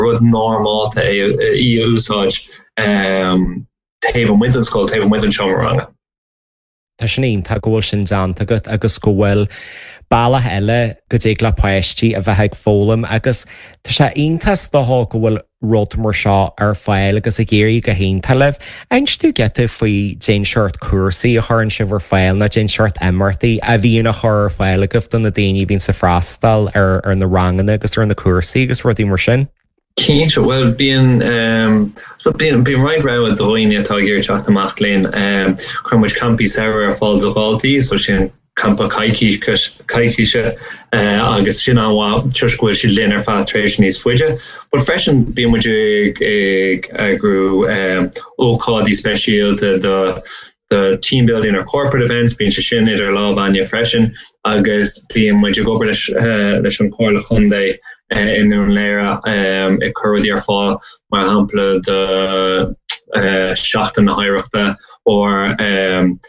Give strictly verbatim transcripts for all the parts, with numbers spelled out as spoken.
rud normálta é í a úsáid um, taobh amuigh den scoil taobh amuigh den seomra ranga. Tá sin iontach go bhfuil sin déanta agat agus go bhfuil bealach eile go dtig le páistí a bheith ag foghlaim agus tá sé iontach go bhfuil rud mar seo ar fáil agus ag éirí go hiontach libh. Inis dúinn giota faoi cén seort cúrsaí a chuireann sibh ar fáil nó cén seort imeachtaí a bhíonn á chur ar fáil agaibh do na daoine bhíonn ag freastal ar ar na ranganna agus ar na cúrsaí agus rudaí mar sin. Cinnte well bíonn um, bíonn bíonn roinnt rogha do dhaoine atá ag iarraidh teacht amach linn um, cuireann muid campaí samhraidh ar fáil do dhaltaí so sin campa coicíse uh, agus sin an-mhaith toisc go bhfuil siad linn ar feadh tréimhse níos faide. But freisin bíonn muid ag ag eagrú um, ócáidí speisialta do the team building or corporate events bíonn sé sin idir lámha againne freisin agus bíonn muid ag obair leis uh, leis an Chomhairle Chontae uh, i nDún Laoghaire um, ag cur rudaí ar fáil mar shampla do uh, Seachtain na hOidhreachta or um,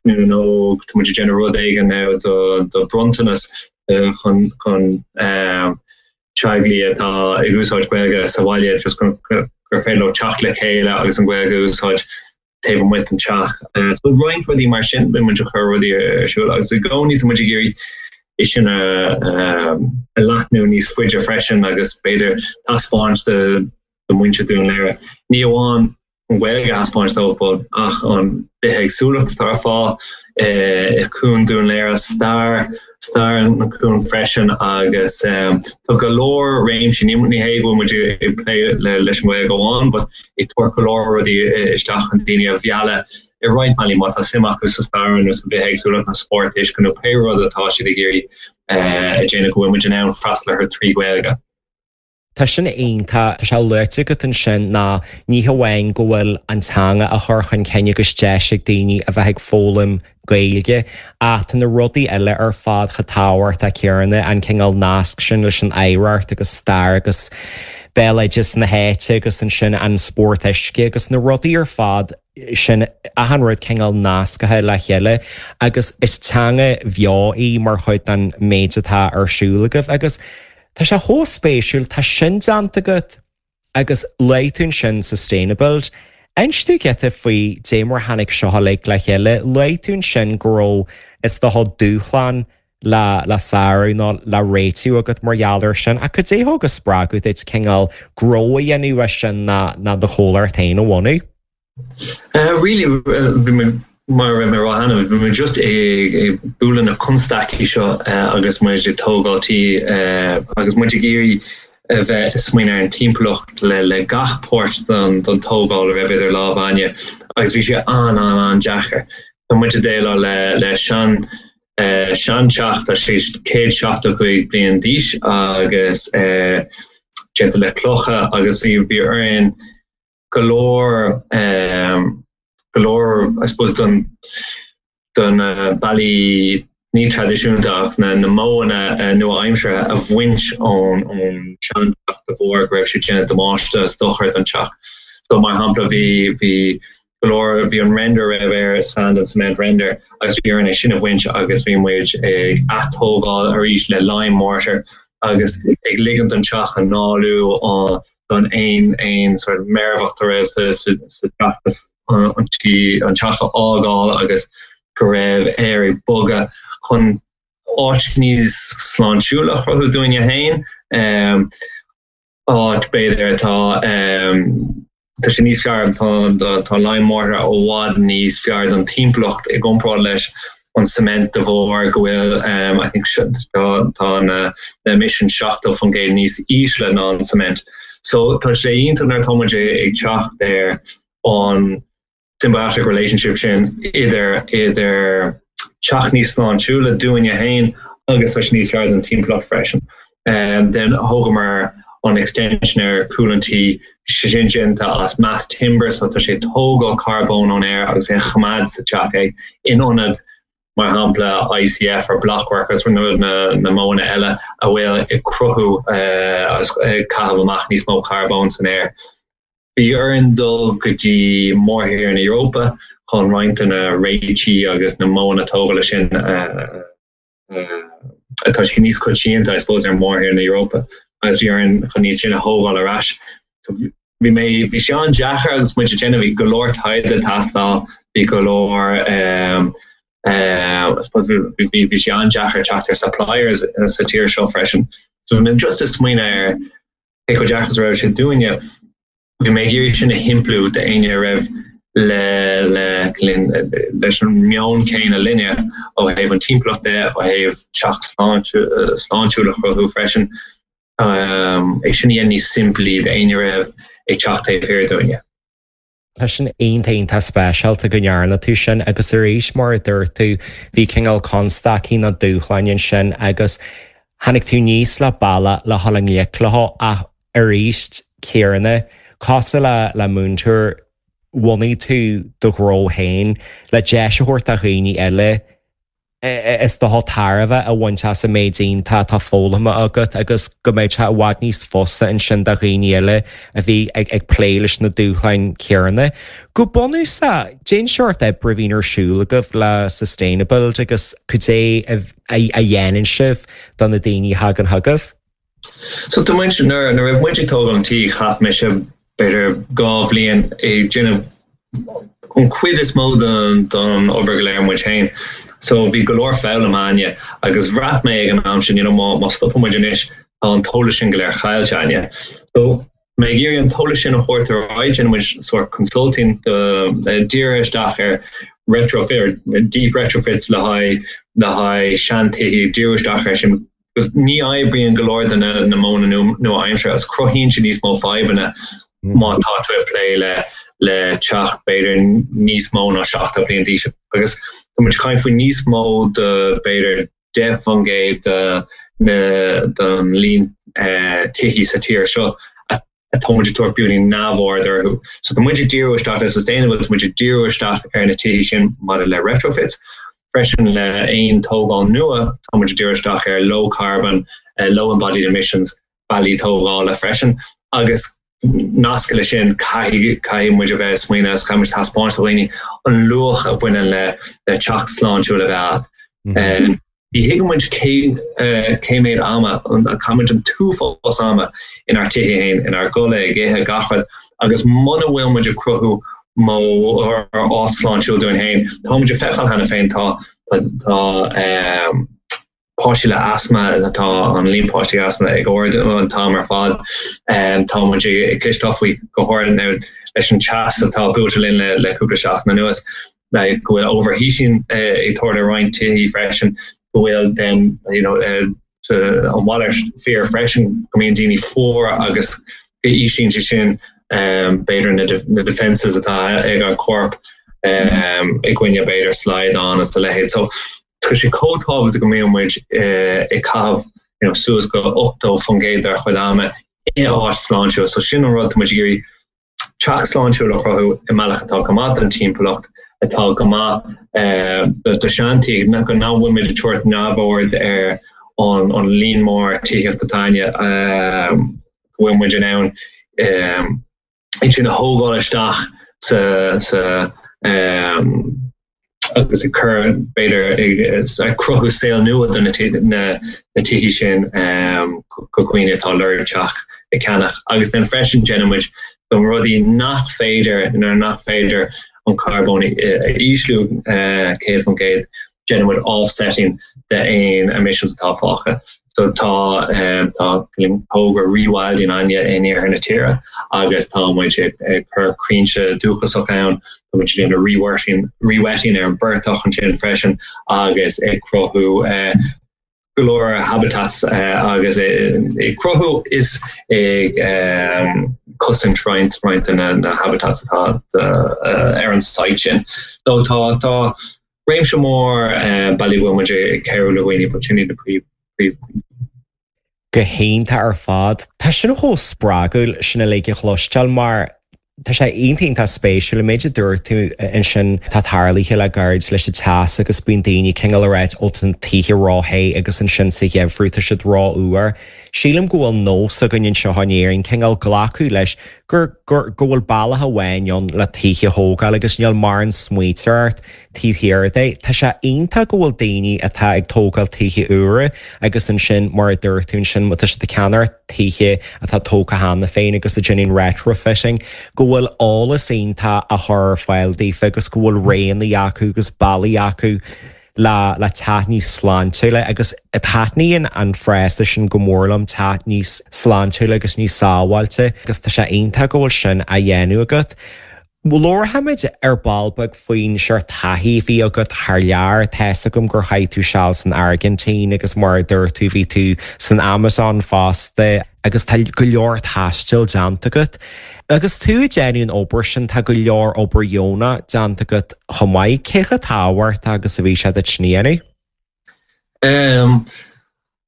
nó tá muid ag déanamh rud éigin do do bronntanas uh, chun chun um, teaghlaigh atá ag úsáid Gaeilge sa bhaile just gur féidir leo teacht le chéile agus an Ghaeilge úsáid taobh amuigh den teach. Uh, so roinnt rudaí mar sin bíonn muid ag cur rudaí ar siúl agus i gcónaí tá muid ag iarraidh é sin a a leathnú níos faide freisin agus b'fhéidir taispeáint do do mhuintir Dún Laoghaire. Ní amháin an Ghaeilge a thaispeáint dóibh ach an bithéagsúlacht atá ar fáil i gcuan Dún Laoghaire stair stair an cuan freisin agus um, tá go leor réimsí ní ní hé go muid ag plé le leis an Ghaeilge amháin, but ag tabhairt go leor rudaí isteach an daoine a mhealladh i roinnt bealaí má tá suim acu sa stair nó sa bithéagsúlacht na spórt uisce nó pé rud atá siad ag iarraidh a dhéanamh go bhfuil muid in ann freastal orthu trí Ghaeilge. Tá sin iontach tá sé luaite agat ansin ná ní hamháin go bhfuil an teanga á chur chun cinn agus deis ag daoine a bheith ag foghlaim Gaeilge ach na rudaí eile ar fad chomh tábhachtach céanna an cineál nasc sin leis an oidhreacht agus stair agus béaloideas na háite agus ansin an spórt uisce agus na rudaí ar fad sin achan rud cineál nasctha le chéile agus is teanga bheo í mar chuid den méid atá ar siúl agaibh agus Tá sé chomh spéisiúil tá sin déanta agat agus luaigh tú ansin sustainable. Inis dúinn giota faoi dé mar tháinig seo le le chéile, luaigh tú ansin go raibh is dócha dúshlán le le sárú nó le réitiú agat mar gheall air sin a cad é thug spreagadh duit cineál gnó a dhéanamh sin ná ná do chomhlacht féin a bhunú. Uh, really uh, mar mar hena bhí muid just ag ag bualadh na constaicí seo uh, agus muid ag tógáil tí uh, agus muid ag iarraidh a bheith smaoineamh ar an timpeallacht le le gach páirt don don tógáil a raibh idir lámha againne agus bhí sé an an an-deacair. Tá muid ag déileáil le le sean uh, seanteach tá sé céad seachtó cúig bliain d'aois agus uh, déanta le clocha agus bhí bhí orainn go leor um, go leor I suppose don don uh, ballaí ní traidisiúnta ach na na modhanna uh, nua-aimseartha a bhaint ón ón seanteach de bharr go raibh sé déanamh damáiste is dochar don teach. So mar shampla bhí bhí go leor bhí an render raibh air sand and cement render agus bhí orainn é sin a bhaint agus bhí muid ag atógáil arís le lime mortar agus ag ligean don teach análú don aon aon sort meirbheacht a raibh sa sa teach an tí an teach a fhágáil agus go raibh aer ag bogadh chun áit níos sláintiúla a chruthú dúinne féin um, áit b'fhéidir atá um, tá sé níos fearr tá tá lime mortar i bhfad níos fearr don timpeallacht i gcomparáid leis an cement de bharr go bhfuil um, I think tá tá na na emission seachtó faoin gcéad níos ísle ná an cement. So tá sé iontach nuair atá muid ag teacht ar an symbiotic relationship sin idir idir teach níos sláintiúla dúinne féin agus leis níos fearr don timpeallacht freisin. Um, then thógamar an extension ar chúl an tí sin déanta as mass timber so tá sé tógáil carbón ón aer agus é choimeád sa teach é in ionad mar shampla ICF or blockwork agus na na, na modhanna eile a bhfuil ag cruthú uh, ag caitheamh amach níos mó carbón san aer. Bhí orainn dul go dtí mórthír na Eorpa chun roinnt na réitigh agus na modhanna tógála sin uh, uh, atá sé níos coitianta I suppose ar mórthír na Eorpa. Agus bhí orainn chun iad sin a thógáil ar ais. Bhí mé bhí sé an-deacair agus muid ag déanamh bhí go leor taighde ag teastáil, bhí go leor um, uh, bhí bhí sé an-deacair teacht ar suppliers sa tír seo freisin. So bhí mé just ag smaoineamh ar cé chomh deacair is a raibh sé dúinne. Bhí mé ag iarraidh sin a shimpliú d'éinne a raibh le le leis an meon céanna linne ó thaobh an timpeallacht de, ó thaobh teach sláintiúil a chruthú freisin. É sin a dhéanamh níos simplí d'éinne a raibh ag teacht taobh thiar dúinne. Tá sin iontach iontach speisialta go ndearna tú sin agus arís mar a dúirt tú bhí cineál constaicí nó dúshláin ansin agus tháinig tú aníos le bealach le dhul i ngleic leo ach arís céanna cosúil le le múinteoir bhunaigh tú do ghnó féin le deis a thabhairt do dhaoine eile is dócha tairbhe a bhaint as an méid iontach atá foghlamtha agat agus go mbeidh sé i bhfad níos fusa ansin do dhaoine eile a bhí ag ag plé leis na dúshláin chéanna. Go bunúsach, cén seort oibre a bhíonn ar siúl agaibh le Sustainabuild agus cad é a dhéanann sibh do na daoine a thagann chugaibh? So tá muid nuair a raibh muid ag tógáil an tí chaith mise b'fhéidir dhá bhliain ag déanamh an chuid is mó den don obair go léir muid féin. So bhí go leor foghlama againne agus bhraith mé ag an am sin you know, má, má stopann muid anois tá an t-eolas sin go léir caillte againne. So mé ag iarraidh an t-eolas sin a thabhairt ar aghaidh déanann muid sort consulting díriú isteach ar retrofit deep retrofits le haghaidh le haghaidh seantithe díriú isteach ar sin ní oibríonn go leor de na na modhanna nua-aimseartha agus cruthaíonn siad níos mó fadhbanna má tá tú ag plé le le teach b'fhéidir níos mó ná seachtó bliain d'aois agus tá muid ag caint faoi níos mó de b'fhéidir deich faoin gcéad de na den líon tithí sa tír seo atá muid ag tabhairt beagáinín neamhaird orthu. So tá muid ag díriú isteach le sustainable, tá muid ag díriú isteach ar na tithí sin maidir le retrofits. Freisin le aon tógáil nua, tá muid ag díriú isteach ar low carbon, uh, low embodied emissions, bealaí tógála freisin. Agus nasctha leis sin caithfidh caithfidh muid a bheith smaoineamh agus caithfidh muid taispeáint do dhaoine an luach a bhaineann le le teach sláintiúil a bheith agat. Mm -hmm. um, Ní thuigeann muid cé cé méid ama caitheann muid an t-uafás ama inár dtithe féin, inár gcodladh, ag ithe gach rud, agus muna bhfuil muid ag cruthú modh áit sláintiúil dúinn féin, tá muid ag feiceáil cheana féin tá tá um, páistí le asma tá an líon páistí asma ag ardú an t-am ar fad. Um, tá muid ag cloisteáil faoi go háirithe leis an teas atá buailte linn le, le cúpla seachtain anuas. go bhfuil overheating ag tarlú i roinnt tithe freisin go bhfuil then you know an mhalairt fíor freisin go mbíonn daoine fuar agus go íslíonn sé sin um, b'fhéidir na, na defenses atá ag an corp um, i gcoinne b'fhéidir slaghdán is a leithéid. So tá sé chomh tábhachtach go mbíonn muid uh, ag caitheamh you know, suas go ochtó faoin gcéad dár chuid ama i áit sláintiúil, so sin an rud muid ag iarraidh teach sláintiúil a chruthú i mbealach atá go maith don timpeallacht atá go maith do seantithe go nach bhfuil muid ag tabhairt neamhaird ar an an líon mór tithíochta atá againne go bhfuil muid in ann iad sin a thógáil isteach sa sa agus ag cur b'fhéidir ag cruthú saol nua do na na tithí sin do dhaoine atá lorg teach a cheannach. Agus then freisin déanann muid do rudaí nach féidir nuair nach féidir an carbón a ísliú céad faoin gcéad déanann muid offsetting de aon emissions atá fágtha. So tá tá togra rewilding againne in iarthar na tíre agus tá muid ag cur crainnte dúchasach ann, tá muid déanamh rewetting rewetting ar an bportach ansin freisin agus ag cruthú go leor habitats agus ag cruthú is ag cosaint roinnt roinnt de na habitats atá ar an site sin. So tá tá réimse mór bealaí go bhfuil muid ag cabhrú le daoine, but sin iad na príomh príomh Go hiontach ar fad. Tá sin chomh spreagúil sin uilig a chloisteáil mar tá sé iontach iontach spéisiúil an méid a dúirt tú ansin tá tarlaithe le gairid leis an teas agus bíonn daoine cineál ag ráit ó tá na tithe ró-the agus ansin sa gheimhreadh tá siad rófhuar. Sílim go bhfuil nós againn anseo in Éirinn cineál glacadh leis gur gur go bhfuil bealach amháin ann le tithe a thógáil agus níl mórán smaointe ort taobh thiar de. Tá sé iontach go bhfuil daoine atá ag tógáil tithe úra agus ansin mar a dúirt tú ansin tá siad ag ceannach tithe atá tógtha cheana féin agus ag déanamh retrofitting, go bhfuil eolas iontach á chur ar fáil daofa agus go bhfuil roghanna acu agus bealaí acu le le teach níos sláintiúla agus taitníonn an frása sin go mór liom teach níos sláintiúla agus níos sábháilte agus tá sé iontach go bhfuil sin á dhéanamh agat. Labharfaimid ar ball beag faoin seort taithí a bhí agat thar lear tá a fhios agam gur chaith tú seal san Airgintín agus mar a dúirt tú bhí tú san Amazon fosta agus tá go leor taistil déanta agat. Agus tú ag déanamh an obair sin tá go leor obair dheonach déanta agat chomh maith cé chomh tábhachtach agus a bhí sé duit sin a dhéanamh. Um,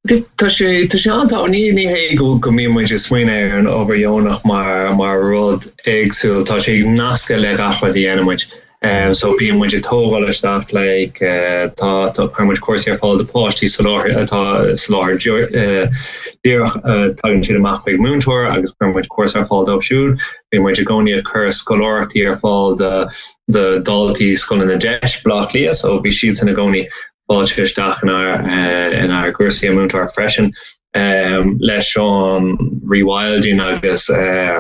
Tá sé tá sé an ní ní hé go go mbíonn muid ag smaoineamh ar an obair dheonach mar mar rud éagsúil tá sé nasctha le gach rud a dhéanann muid. Um, so bíonn muid ag tógáil isteach like, uh, tá tá cuireann muid cúrsaí ar fáil do páistí soláthar atá soláthar uh, díreach uh, tagann siad amach chuig múinteoir agus cuireann muid cúrsa ar fáil dóibh siúd. Bíonn muid i gcónaí ag cur scoláireachtaí ar fáil do do daltaí scoileanna DEIS Bleá Cliath, so bhí siad san i gcónaí fáilte isteach inár uh, inár gcúrsaí a múinteoir freisin. Um, leis an rewilding agus uh,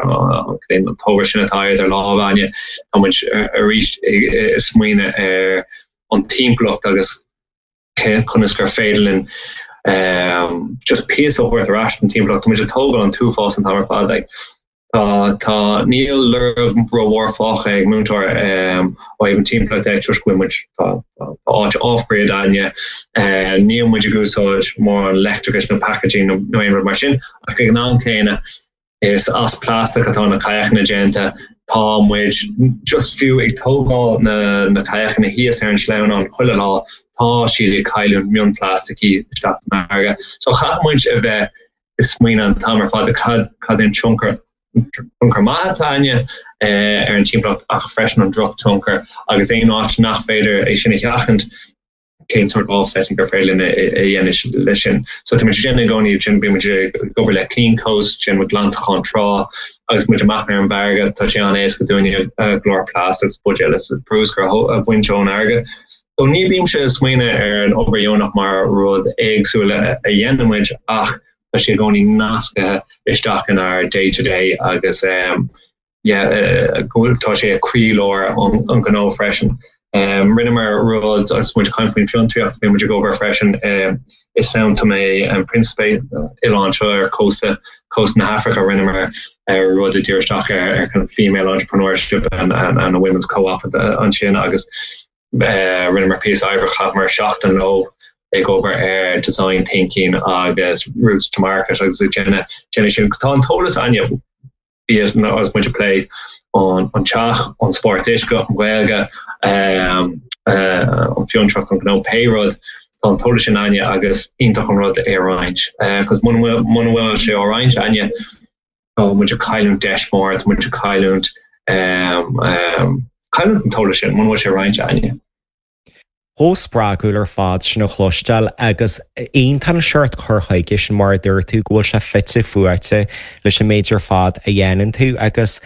an togra sin atá idir lámha againne tá muid arís ag smaoineamh ar an timpeallacht agus conas gur féidir linn um, just píosa a thabhairt ar ais an timpeallacht tá muid ag tógáil an t-uafás an t-am ar fad like, Tá tá níl lorg rómhór fágtha ag múinteoir um, ó thaobh an timpeallacht de toisc go bhfuil muid tá tá áit off-grid againne uh, níl muid ag úsáid mórán leictreachais nó packaging nó nó aon rud mar sin ach ag an am céanna is as plastic atá na kayakanna déanta tá muid just fiú ag tógáil na na kayakanna thíos ar an sleamhnán chuile lá tá siad ag cailliúint mionphlaisticí isteach san fharraige. So caithfidh muid a bheith ag smaoineamh an t-am ar fad cad cad é an tionchar tionchar maith atá againne ar an timpeallacht ach freisin an drochthionchar agus aon áit nach féidir é sin a sheachaint cén sort offsetting gur féidir linn a dhéanamh leis sin. So tá muid déanamh i gcónaí sin bíonn muid ag obair le Clean Coast sin muid glantachán trá agus muid amach ar an bhfarraige tá sé an-éasca dúinne go leor plastic buidéil is bruscar a bhaint ón fharraige. So ní bhímse ag smaoineamh ar an obair dheonach mar rud éagsúil a dhéanann muid ach tá sé i gcónaí nasctha isteach inár day to day agus um, yeah, uh, tá sé ag croílár an, an gnó freisin. Um, Rinneamar rud agus muid caint faoin fiontraíocht bhí muid ag obair freisin um, i São Tomé and Príncipe oileán seo ar cósta cósta na hAfraice rinneamar uh, rud a díriú isteach ar ar kind of female entrepreneurship and, and, and a women's co-op ansin agus uh, rinneamar píosa oibre chaitheamar seachtain leo ag obair ar design thinking agus routes to market agus déanamh déanamh sin tá an t-eolas againne bí agus muid ag plé an an teach an spórt uisce an Ghaeilge um, uh, an fhiontraíocht an gnó pé rud tá an t-eolas sin againne agus iontach an rud é a roinnt. Cos muna bhfuil sé á roinnt againne tá muid ag cailliúint deis mór tá muid ag cailliúint um, um, cailliúint an t-eolas sin muna bhfuil sé roinnte againne. Chomh spreagúil ar fad sin a chloisteáil agus iontach an seort cur chuige sin mar a dúirt tú go bhfuil sé fite fuaite leis an méid ar fad a dhéanann tú agus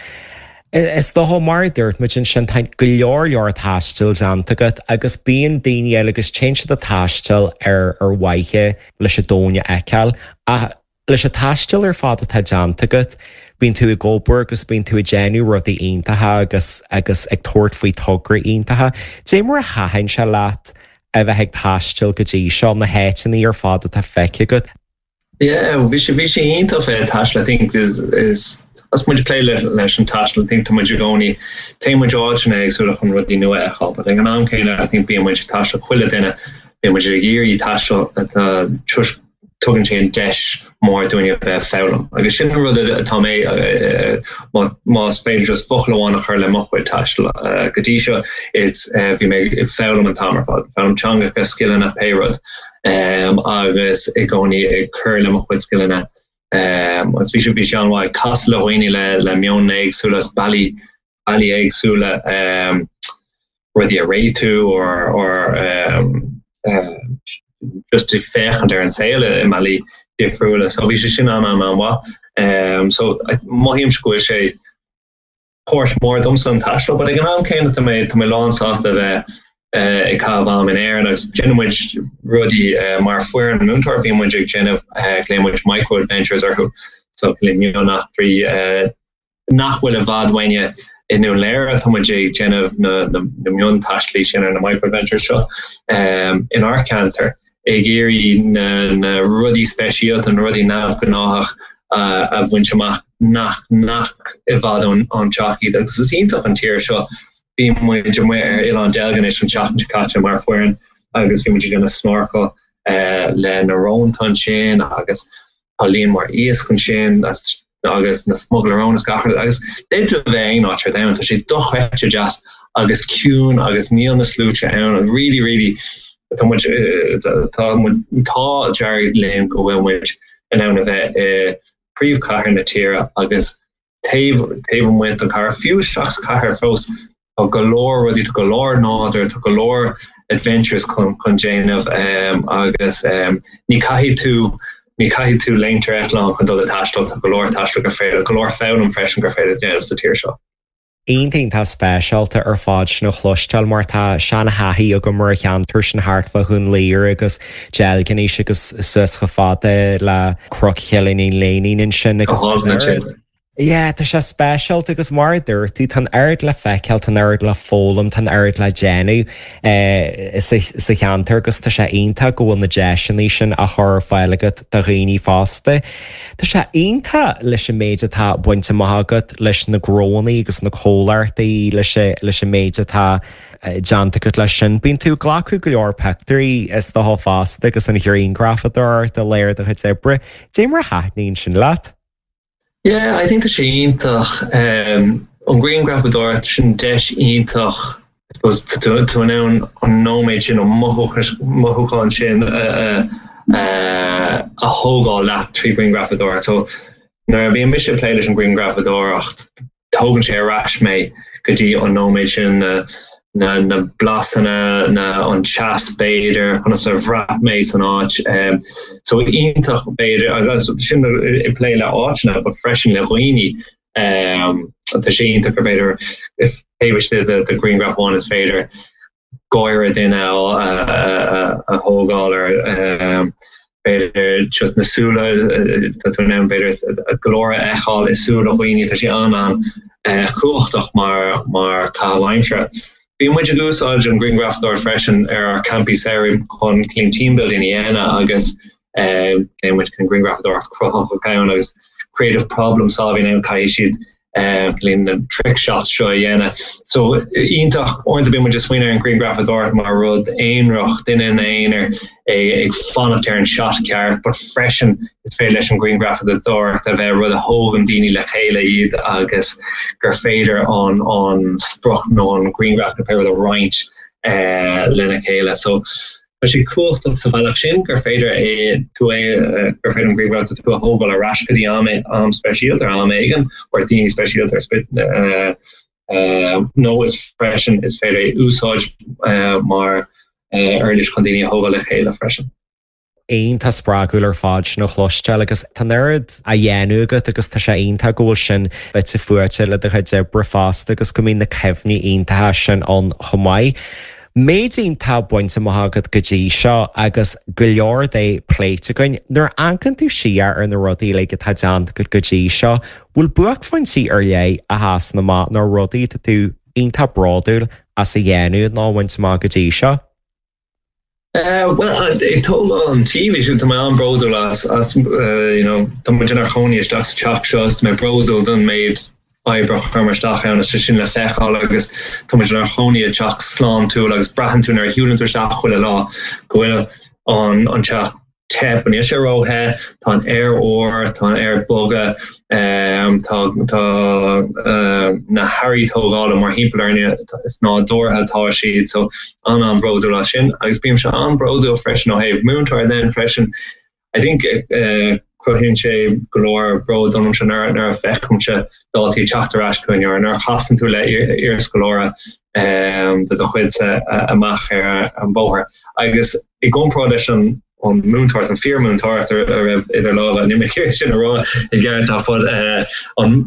is dócha mar a dúirt muid ansin tá go leor leor taistil déanta agat agus bíonn daoine eile agus téann siad ag taisteal ar ar mhaithe leis an domhan a fheiceáil ach leis an taisteal ar fad atá déanta agat, bíonn tú ag obair agus bíonn tú ag déanamh rudaí iontacha agus agus ag tabhairt faoi tograí iontacha. Dé mar a thaitin sé leat a bheith ag taisteal go dtí seo na háiteanna ar fad atá feicthe agat. Yeah, bhí sé bhí sé iontach bheith ag taisteal I think is is as muid plé le leis an taisteal I think tá muid i gcónaí téann muid áiteanna éagsúla chun rudaí nua a fheiceáil, but ag an am céanna I think bíonn muid ag taisteal chuile duine bíonn muid ag iarraidh taisteal atá tugann sé an deis mór dúinne a bheith foghlaim. Agus sin an rud atá mé más féidir just focal amháin a chur le mo chuid taistil go dtí seo it's bhí mé ag foghlaim an t-am ar fad, foghlaim teangacha, scileanna, pé rud um, agus i gcónaí ag cur le mo chuid scileanna um, agus bhí sé bhí sé an-mhaith casadh le dhaoine le le meon éagsúla is bealaí bealaí éagsúla um, rudaí a réitiú or or um, uh, just ag féachaint ar an saol i mbealaí difriúla so bhí sé sin an an an-mhaith um, so mothaím go bhfuil sé Páirt mór domsa an taisteal, but ag an am céanna tá mé tá mé lán sásta bheith uh, ag caitheamh am in Éirinn agus déanann muid rudaí uh, mar foireann múinteoir bíonn muid ag déanamh uh, glaonn muid micro adventures orthu so le mioneachtraí uh, nach bhfuil i bhfad uainne i nDún Laoghaire tá muid ag déanamh na, na, na miontaistil sin ar na micro adventures seo um, in ár ceantar ag iarraidh na, na rudaí speisialta na rudaí neamhghnách uh, a bhaint amach nach nach i bhfad ón an teach iad agus is iontach an tír seo bhí muid amuigh ar Oileán Deilginis an tseachtain seo caite mar foireann agus bhí muid ag snorkel uh, le na rónta ansin agus tá líon mór iasc ansin agus na smugairle róin gach agus d'fhéadfá bheith aon áit ar domhan tá sé dochreidte deas agus ciúin agus níl na sluaite ann and really really tá muid tá tá dearg linn go bhfuil muid in ann a bheith i príomhchathair na tíre agus taobh taobh amuigh den chathair fiú isteach sa chathair fós tá go leor rudaí tá go leor nádúr tá go leor adventures chun chun déanamh um, agus um, ní caithfidh tú ní caithfidh tú léimt ar eitleán chun dul ag taisteal tá go leor taisteal gur féidir go leor foghlaim freisin gur féidir déanamh sa tír seo. Iontach speisialta ar fad sin a chloisteáil mar tá seanathaí agam mar a cheantar sin thart fá Dhún Laoghaire agus Deilginis agus suas chomh fada le Cnoc Chillín Léinín ansin agus Yeah, tá sé speisialta agus mar dúirt tú tá oiread le feiceáil tá oiread le foghlaim tá oiread le déanamh eh, sa cheantar agus tá sé iontach go bhfuil na deiseanna sin á chur ar fáil agat do dhaoine fásta. Tá sé iontach leis an méid atá bainte amach agat leis na gnónna agus na comhlachtaí leis leis an méid atá eh, déanta agat leis sin. Bíonn tú glacadh go leor pictiúirí is dócha fosta agus an ghrianghrafadóireacht i léir do chuid oibre, Dé mar a thaitníonn sin leat? Yeah, I think tá sé iontach um, an ghrianghrafadóireacht sin deis iontach tú in ann an nóiméad sin an mothúchán sin a a thógáil leat trí ghrianghrafadóireacht. So nuair a bhíonn mise ag plé leis an ghrianghrafadóireacht tógann sé ar ais mé go dtí an nóiméad sin na na na blasanna na an teas b'fhéidir conas a bhraith mé san áit um, so iontach b'fhéidir agus sin ag plé le áiteanna but freisin le dhaoine um, tá sé iontach gur b'fhéidir if taobh de de ghrianghraf amháin is féidir gáire duine a thógáil ar um, b'fhéidir just na súile tá tú in ann b'fhéidir go leor a fheiceáil i súile dhaoine tá sé an an uh, cumhachtach mar mar caitheamh aimsire. Bhí muid ag úsáid an ghrianghrafadóireacht freisin ar ár campaí samhraidh chun clean team building a dhéanamh agus uh, muid chun grianghrafadóireacht cruthaitheach ann agus creative problem solving ann caithfidh siad uh, na trick shots seo a dhéanamh. So iontach uaireanta bíonn muid ag smaoineamh ar an ghrianghrafadóireacht mar rud aonarach duine ina aonar ag fanacht ar an shot ceart, but freisin is féidir leis an ghrianghrafadóireacht a bheith rud a thógann daoine le chéile iad agus gur féidir an an sprioc nó an grianghraf na rud a roinnt uh, lena chéile. So Tá sé cumhachtach sa bhealach sin gur féidir é tú é gur féidir an grianghraf tú a thógáil ar ais go dtí am am speisialta ar am éigin or daoine speisialta ar uh, uh, nó is freisin is féidir é úsáid uh, mar uirlis chun daoine a thógáil le chéile freisin. Iontach spreagúil ar fad sin a chloisteáil agus tá oiread á dhéanamh agat agus tá sé iontach go bhfuil sin fite fuaite le do chuid oibre fosta agus go mbíonn na cuimhní iontacha sin ann chomh maith. Méid iontach bainte amach agat go dtí seo agus go leor de pléite againn nuair a amharcann tú siar ar na rudaí le atá déanta agat go dtí seo, bhfuil buaicphointí ar leith a sheasann amach nó rudaí tá tú iontach bródúil as a dhéanamh nó a bhaint amach go dtí seo? Uh, well ag tógáil an tí bhí tá mé an-bhródúil as as uh, you know, tá muid inár gcónaí isteach sa teach seo tá mé bródúil don méid oibre a chuir muid isteach ann is sin le feiceáil agus tá muid inár gcónaí i dteach sláintiúil agus braitheann tú nuair a shiúlann tú isteach chuile lá go bhfuil an an teach te níl sé róthe, tá an aer úr, tá an aer boga, um, tá tá uh, na hearraí tógála mar thimpeall orainne is nádúrtha atá siad so an an-bhródúil as sin agus bímse an-bhródúil freisin ó thaobh múinteoir den freisin. I think uh, cruthaíonn sé go leor bród domsa nuair nuair a fheicimse daltaí teacht ar ais chugainn ar nuair a chasann tú le iarscoláire um, de do chuidse amach ar an bóthar. Agus i gcomparáid leis an an múinteoireacht an fíormhúinteoireacht a raibh idir lámha ní mé sin a rá i gceart ach an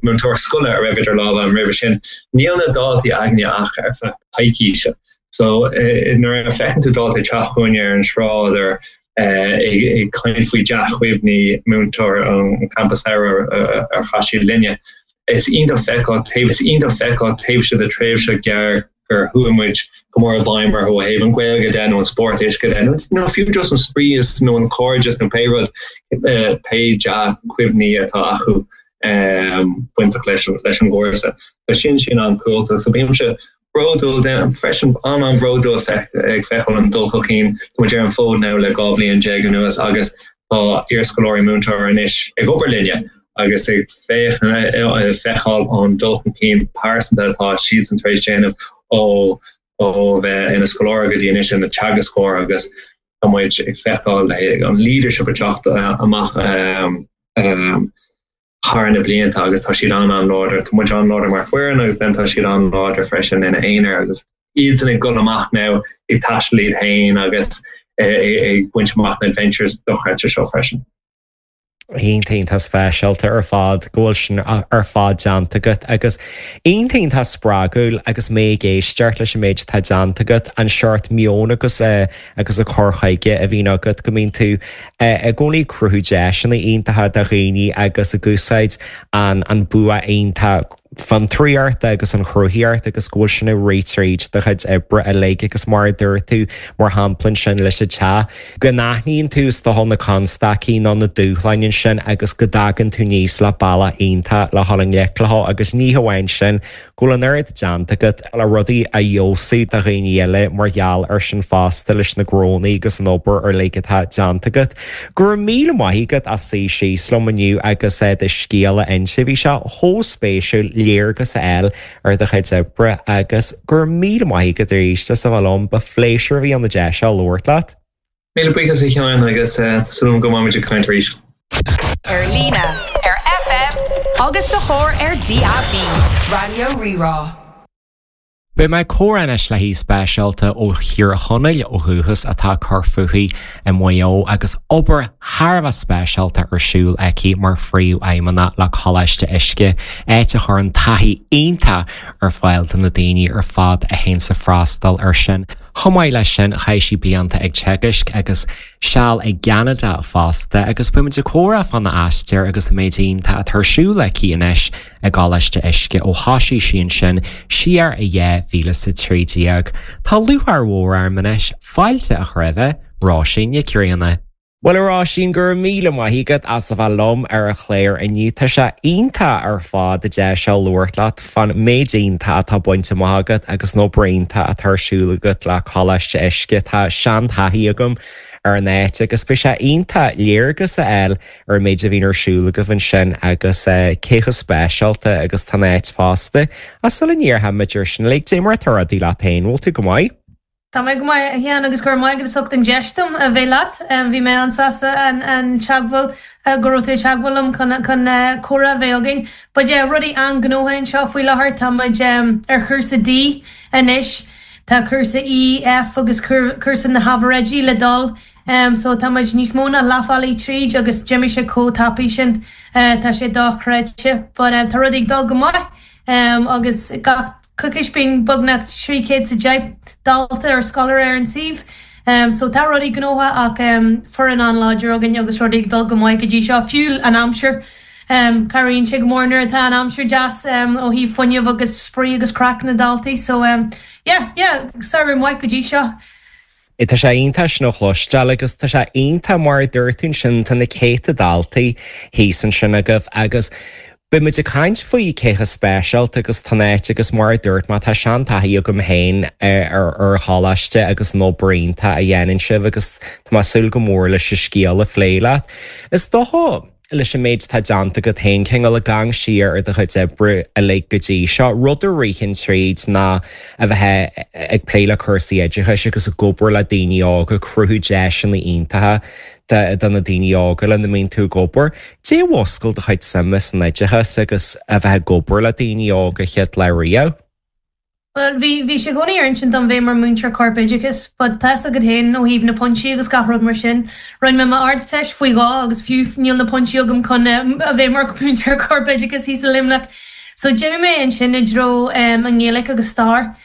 múinteoir scoile a raibh idir lámha an roimhe sin. Níl na daltaí againne ach ar feadh coicíse. So nuair a fheiceann tú dalta teacht chugainn ar an sráid ar ag caint faoi dea-chuimhní múinteoir an campa samhraidh ar chaith siad linne. Is iontach feiceáil taobh is iontach feiceáil taobh de tréimhse gearr gur chuaigh muid go mór i bhfeidhm orthu ó thaobh an Ghaeilge de nó an spórt uisce de nó fiú just an spraoi is nó an cairdeas nó pé rud pé dea-chuimhní atá acu bainteach leis leis an gcúrsa. Tá sin sin an-cool so bímse bródúil freisin an an bhródúil ag feiceáil an dul chun cinn tá muid ar an fód now le dhá bhliain déag anuas agus tá iarscoláirí múinteoir anois ag obair linne agus ag feiceáil an dul chun cinn pearsanta atá siadsan tar éis déanamh ó ó bheith ina scoláire go dtí anois ina teagascóir agus tá muid ag feiceáil an leadership ag teacht amach um, thar na blianta agus tá siad an an-láidir Tá muid an-láidir mar foireann agus then tá siad an-láidir freisin ina aonar agus iad san ag dul amach now ag taisteal iad féin agus ag baint amach na adventures dochreidte seo freisin. Iontach speisialta ar fad go bhfuil sin ar fad déanta agat agus iontach spreagúil agus mé ag éisteacht leis an méid atá déanta agat an seort meon agus agus an cur chuige a bhíonn agat go mbíonn tú i gcónaí ag cruthú deiseanna iontacha do dhaoine agus ag úsáid an an bua iontach fiontraíochta agus an chruthaíocht agus go bhfuil sin ag rith tríd do chuid oibre uilig agus mar a dúirt tú mar shampla sin leis an teach, go n-aithníonn tú is dócha na constaicí nó na dúshláin sin agus go dtagann tú aníos le bealach iontach le dhul i ngleic leo agus ní hamháin sin go bhfuil an oiread déanta agat le rudaí a fheabhsú do dhaoine eile mar gheall ar sin fosta leis na gnónna agus an obair uilig atá déanta agat. Go raibh míle maith agat as suí síos liom inniu agus do scéal a inse bhí sé chomh spéisiúil léargas a fháil ar do chuid oibre agus go raibh míle maith agat arís as a bheith liom ba phléisiúr a bhí ann an deis seo labhairt leat. Míle buíochas a Sheáin agus tá súil agam go mbeimid ag caint arís. Ar líne, ar FM agus sa charr ar DAB. Raidió Rí-Rá. Beidh mé ag comhrá anois le haoi speisialta ó Thír Chonaill ó dhúchas atá ag cur fúithi i Maigh Eo agus obair thar a bheith speisialta ar siúl aici mar phríomhfheidhmeannach le Coláiste Uisce, áit a chuireann taithí iontach ar fáil do na daoine ar fad a théann ag freastal air sin. Chomh maith leis sin chaith sí blianta ag teagasc agus seal i gCeanada fosta agus beimid ag comhrá fána aistear agus an méid iontach atá ar siúl aici anois i gColáiste Uisce ó thosaigh sí ansin siar i dhá mhíle is a trí déag. Tá lúcháir mhór orm anois fáilte a chur roimh Róisín Nic Grianna. Bhuel a Róisín go raibh míle maith agat as a bheith liom ar an chlár inniu Tá sé iontach ar fad an deis seo labhairt leat fán méid iontach atá bainte amach agat agus an obair iontach atá ar siúl agat le Coláiste Uisce Tá seantaithí agam ar an áit agus beidh sé iontach léargas a fháil ar an méid a bhíonn ar siúl agaibh ansin agus cé chomh speisialta agus tá an áit fosta. Ach sula ndéarfaimid ar sin le dé mar atá rudaí leat féin, bhfuil tú go maith? Tá mé go maith a Sheáin agus go raibh maith agat as ucht an deis dom a bheith leat. Bhí mé an-sásta an an teagmháil go raibh tú ag teagmháil liom chun chun comhrá a bheith againn. But yeah, rudaí an-ghnóthach anseo faoi láthair tá muid ar chúrsa D anois. Tá cúrsa E, F agus cúrsa na hábhair oidí le dul. Um, so tá muid níos mó ná leath bealaigh tríd agus d'imigh sé chomh tapaidh sin uh, tá sé dochreidte, but um, tá rudaí ag dul go maith um, agus gach coicís bíonn beagnach trí chéad is a deich dalta ar scoláire ar an suíomh. Um, so tá rudaí gnóthach ach um, foireann an-láidir againn agus rudaí ag dul go maith go dtí seo fiú an aimsir. Um, Cabhraíonn sé go mór nuair atá an aimsir deas um, ó thaobh fuinneamh agus spraoi agus craic na daltaí, so um, yeah, yeah, samhradh maith go dtí seo. Tá sé iontach sin a chloisteáil agus tá sé iontach mar a dúirt tú ansin tá na céadta daltaí thíos ansin agaibh agus Beimid ag caint faoi cé chomh speisialta agus tá an áit agus mar a dúirt mé tá seantaithí agam féin ar ar choláiste agus an obair iontach a dhéanann sibh agus tá mé ag súil go mór leis an scéal a phlé leat. Is dócha leis an méid atá déanta agat féin cineál ag amharc siar ar do chuid oibre uilig go dtí seo, rud a ritheann tríd ná a bheith ag plé le cúrsaí oideachais agus ag obair le daoine óga cruthú deiseanna iontacha do na daoine óga lena mbíonn tú ag obair. Dé mhuscail do chuid suime san oideachas agus a bheith ag obair le daoine óga chéad lá riamh. Well bhí bhí sé i gcónaí ar intinn dom bheith mar múinteoir corpoideachais, but tá's agat féin ó thaobh na pointí agus gach rud mar sin. Rinne mé m'Ardteist faoi dhó agus fiú níl na pointí agam chun a bheith mar múinteoir corpoideachais thíos i Luimneach. So d'imigh mé ansin i dtreo um, an Ghaeilge agus stair.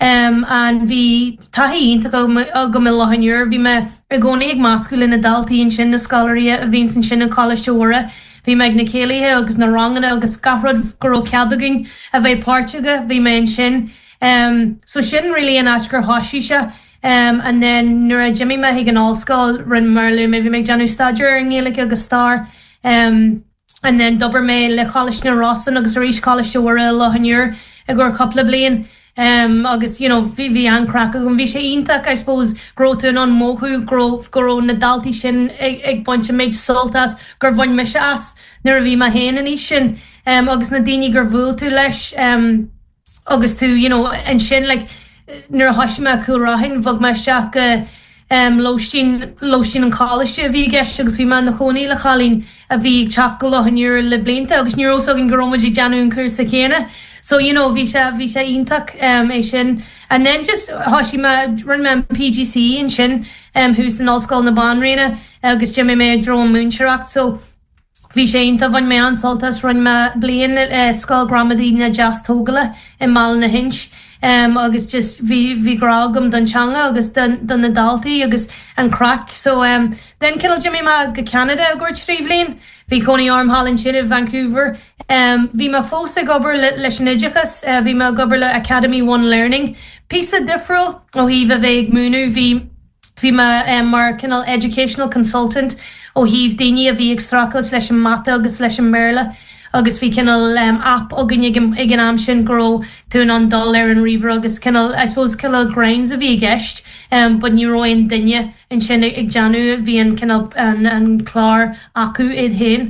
Um, and bhí taithí iontach agam i Loch an Iúir, bhí mé i gcónaí ag meascadh le na daltaí ansin na scoláirí a bhíonn ansin i gColáiste Mhuire. Bhí mé ag na céilithe agus na ranganna agus gach rud go raibh cead againn a bheith páirteach bhí mé ansin. Um, so sin really an áit gur thosaigh sé um, and then nuair a d'imigh mé chuig an ollscoil rinne mar lu mé bhí mé ag déanamh staidéar ar an nGaeilge agus stair. Um, and then d'obair mé le Coláiste na Rosann agus arís Coláiste Mhuire Loch an Iúir i gcomhair cúpla bliain. Um, agus you know, bhí bhí an-chraic agam bhí sé iontach I suppose go raibh tú an mothú go raibh na daltaí sin ag, ag baint méid sult as gur bhain mise as nuair a bhí mé féin in aois sin um, agus na daoine gur bhuail tú leis um, agus tú you know, ansin like, nuair a thosaigh mé Cúil Raithin bhog mé isteach go um, lóistín lóistín an choláiste a bhí i gceist agus bhí mé i mo chónaí le cailín a bhí ag teacht go Loch an Iúir le blianta agus ní raibh againn go raibh muid ag déanamh an cúrsa céanna. So you know, bhí sé bhí sé iontach um, é sin. And then just thosaigh mé rinne mé an PGCE ansin um, thuas in Ollscoil na Banríona agus d'imigh mé i dtreo múinteoireacht so Bhí sé iontach bhain mé an-sult as rinne mé bliain uh, Scoil Gramadaí na Deastógála i mBaile na hInse. Um, agus just bhí bhí grá agam don teanga agus don, don na daltaí agus an craic so um, den cineál d'imigh mé go Canada i gcomhair trí bhliain bhí cónaí orm thall ansin i Vancouver um, bhí mé fós ag obair le, leis an oideachas uh, bhí mé ag obair le Academy One Learning Píosa difriúil ó thaobh a bheith ag múineadh bhí bhí mé um, mar cineál educational consultant ó thaobh daoine a bhí ag streachailt leis an mata agus leis an mBéarla agus bhí cineál um, app againn ag ag an am sin go raibh tú in ann dul ar an ríomhaire agus cineál I suppose cineál grinds a bhí i gceist um, but ní raibh aon duine ansin ag déanamh bhí an cineál an, an clár acu iad féin.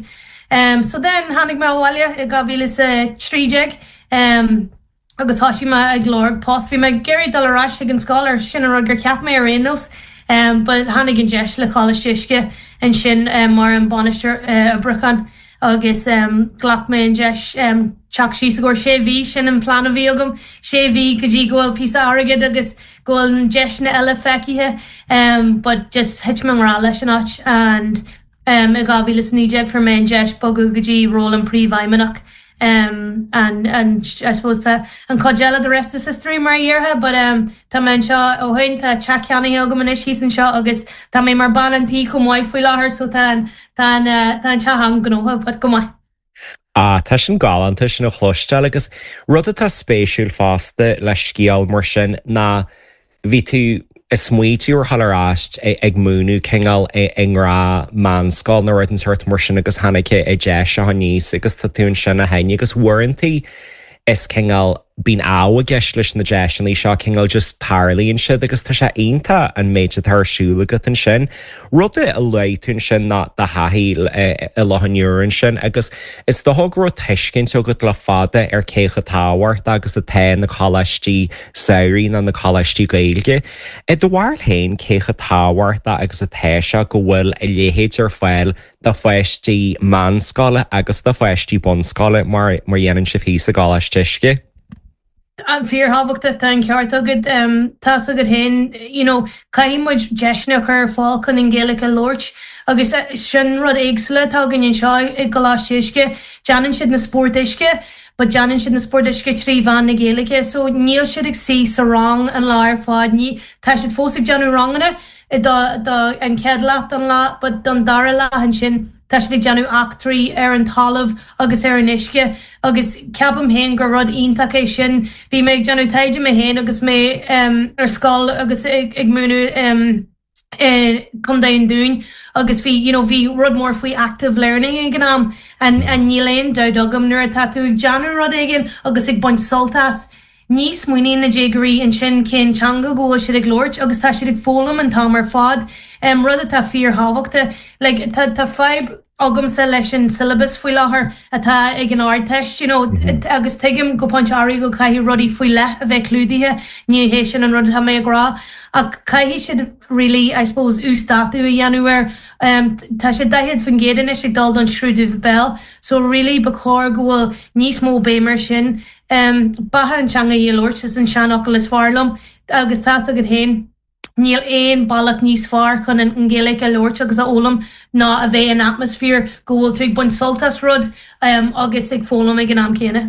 Um, so then tháinig mé abhaile i dhá mhíle is a trí déag um, agus thosaigh mé ag lorg post bhí mé ag iarraidh dul ar ais ag an scoil ar sin an rud gur cheap mé ar aon nós. Um, but tháinig an deis le Coláiste Uisce ansin um, mar an bainisteoir uh, oibriúcháin agus um, ghlac mé an deis um, teacht síos go sé mhí sin an plean a bhí agam sé mhí go dtí go bhfuil píosa airgid agus go bhfuil an deiseanna eile feicthe um, but just thit mé i ngrá leis an áit and um, i dhá mhíle is naoi déag fuair mé an deis bogadh go dtí ról an príomhfheidhmeannach um, and and I suppose tá an chuid eile the rest is history mar a déarfá but um, tá mé anseo ó shin tá teach ceannaithe agam anois thíos anseo agus tá mé mar bean an tí chomh maith faoi láthair so tá tá tá an teach an-ghnóthach but go maith. Ah, tá sin galánta sin a chloisteáil agus rud atá spéisiúil fosta le scéal mar sin ná bhí tú ag smaointiú ar dhul ar ais ag múineadh cineál i ngra meánscoil nó rud den sórt mar sin agus tháinig an deis seo aníos agus tá tú ansin ó shin agus uaireanta is cineál bíonn ádh i gceist leis na deiseanna seo cineál just tarlaíonn siad agus tá sé iontach an méid atá ar siúl agat ansin. Rud a luaigh tú ansin ná do thaithí i Loch an Iúir ansin agus is dócha go raibh tuiscint agat le fada ar cé chomh tábhachtach agus atá na coláistí samhraidh ná na coláistí Gaeilge. I do bharúil féin cé chomh tábhachtach agus atá sé go bhfuil a leithéid ar fáil do pháistí meánscoile agus do pháistí bunscoile mar mar dhéanann sibh thíos i gColáiste Uisce. An fíorthábhachtach tá an ceart agat tá agat féin you know, caithfidh muid deiseanna a chur ar fáil chun an Ghaeilge a labhairt agus sin rud éagsúla atá againn anseo i gColáiste Uisce déanann siad na spóirt uisce, but déanann siad na spóirt uisce trí mheán na Gaeilge, so níl siad ag suí sa rang an lá ar fad ní tá siad fós ag déanamh ranganna do, do an chéad leath don lá, but don dara leath ansin tá siad ag déanamh eachtraí ar an talamh agus ar an uisce agus ceapaim féin gur rud iontach é sin bhí mé ag déanamh taighde mé féin agus mé um, ar scoil agus ag, ag múineadh um, Contae an Dúin agus bhí you know, bhí rud mór faoi active learning ag an am and, and níl aon dabht agam nuair atá tú ag déanamh rud éigin agus ag baint sult as. Ní smaoiníonn na déagóirí ansin cén teanga go bhfuil siad ag labhairt agus tá siad ag foghlaim an t-am ar fad um, rud atá fíorthábhachtach like, tá tá fadhb agamsa leis an syllabus faoi láthair atá ag an Ardteist you know, agus tuigim go pointe áirithe go caithfidh rudaí faoi leith a bheith clúdaithe ní hé sin an rud atá mé ag rá ach caithfidh siad really I suppose uasdátú a dhéanamh air um, tá sé daichead faoin gcéad anois ag dul don scrúdú béil so really ba chóir go bhfuil níos mó béim air sin um, beatha an teanga í a labhairt is an seanfhocal is fearr liom agus tá agat féin Níl aon bealach níos fearr chun an Ghaeilge a labhairt agus a fhoghlaim ná a bheith in atmaisféar go bhfuil tú ag baint sult as rud um, agus ag foghlaim ag an am céanna.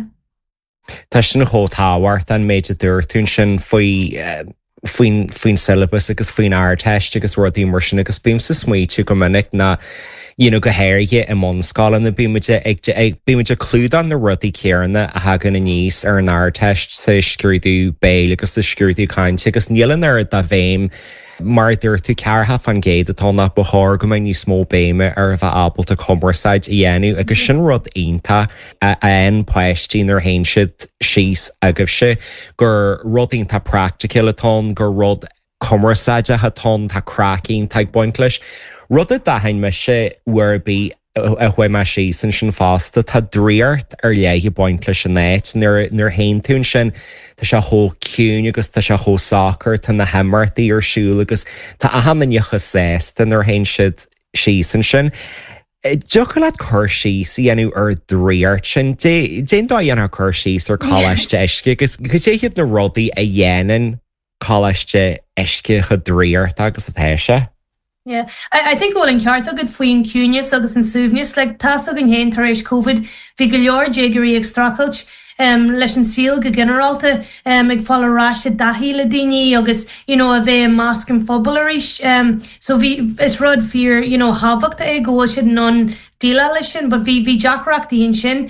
Tá sin chomh tábhachtach an méid a dúirt tú sin faoi eh, faoin faoin syllabus agus faoin Ardteist agus rudaí mar sin agus bímse ag smaoitiú go minic na you know, go háirithe i mbunscoileanna bímid ag bímid ag clúdach na rudaí céanna a thagann aníos ar an Ardteist sa scrúdú béil agus sa scrúdú cainte agus níl an oiread de bhéim mar dúirt tú ceathracha faoin gcéad atá nach ba chóir go mbeidh níos mó béime ar a bheith ábalta cumarsáid a dhéanamh agus sin rud iontach a fhaigheann páistí nuair a théann siad síos agaibhse gur rud iontach praiticiúil atá gur rud cumarsáideach atá tá craic iontach ag baint leis. Rud a d'aithin mise uair ar bith a chuaigh mé síos ansin fosta tá draíocht ar leith ag baint leis an áit nuair nuair a théann tú ansin tá sé chomh ciúin agus tá sé chomh socair tá na himeachtaí ar siúl agus tá achan duine chomh sásta nuair a théann siad síos ansin. Dtiocfadh leat cur síos a dhéanamh ar draíocht sin Cén dóigh a dhéanfá cur síos ar Coláiste Uisce agus cad é hiad na rudaí a dhéanann Coláiste Uisce chomh draíochta agus atá sé. Yeah, I, I think go bhfuil an ceart agat faoin ciúnas agus an suaimhneas, like, tá a fhios againn féin tar éis Covid, bhí go leor déagóirí ag streachailt um, leis an saol go ginearálta um, ag fáil ar ais i dtaithí le daoine agus you know, a bheith i measc an phobail arís. Um, so bhí is rud fíor you know, thábhachtach é go bhfuil siad in ann déileáil leis sin, but bhí bhí deacrachtaí ansin.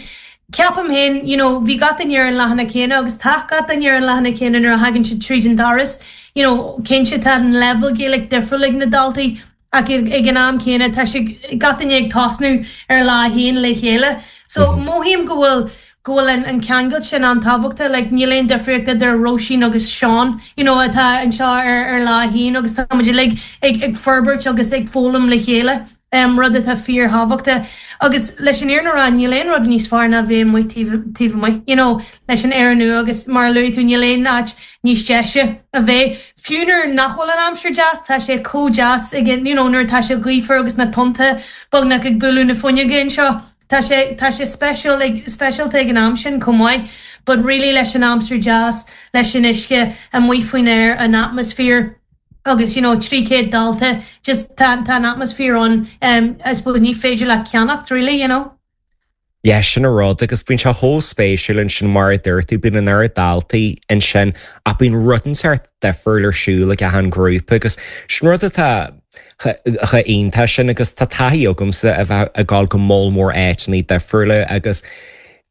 Ceapaim féin, you know, bhí gach duine ar an leathanach céanna agus tá gach duine ar an leathanach céanna nuair a thagann siad tríd an doras. You know, cinnte tá an level Gaeilge difriúil ag na daltaí ach ag an am céanna tá sé gach duine ag tosnú ar lá a haon le chéile. So mm -hmm. mothaím go bhfuil go bhfuil an, an ceangal sin an-tábhachtach, like, níl aon difríocht idir Róisín agus Seán, you know, atá anseo ar, ar lá a haon agus tá muid uilig ag, ag forbairt agus ag foghlaim le chéile. Um, rud atá fíorthábhachtach agus leis an fhírinne a rá níl aon rud níos fearr ná bheith amuigh taobh amuigh you know, leis an aer nua agus mar a luaigh tú níl aon áit níos deise a bheith. Fiú nuair nach bhfuil an aimsir deas tá sé chomh deas ag you know, nuair tá sé gaofar agus na tonnta beagnach ag bualadh na fuinneoige anseo. Tá sé tá sé special ag speisialta ag an am sin chomh maith, but really leis an aimsir deas leis an uisce amuigh faoin aer an atmaisféar agus you know trí chéad dalta just tá tá an atmaisféar an um, I suppose ní féidir le ceannacht really you know. Yeah, sin an rud agus bíonn sé chomh spéisiúil ansin mar a dúirt tú bíonn an oiread daltaí ansin ach bíonn rud inteacht difriúil ar siúl ag achan grúpa agus sin rud atá chomh iontach sin agus tá taithí agamsa a bheith ag dul go moll mór áiteanna difriúla agus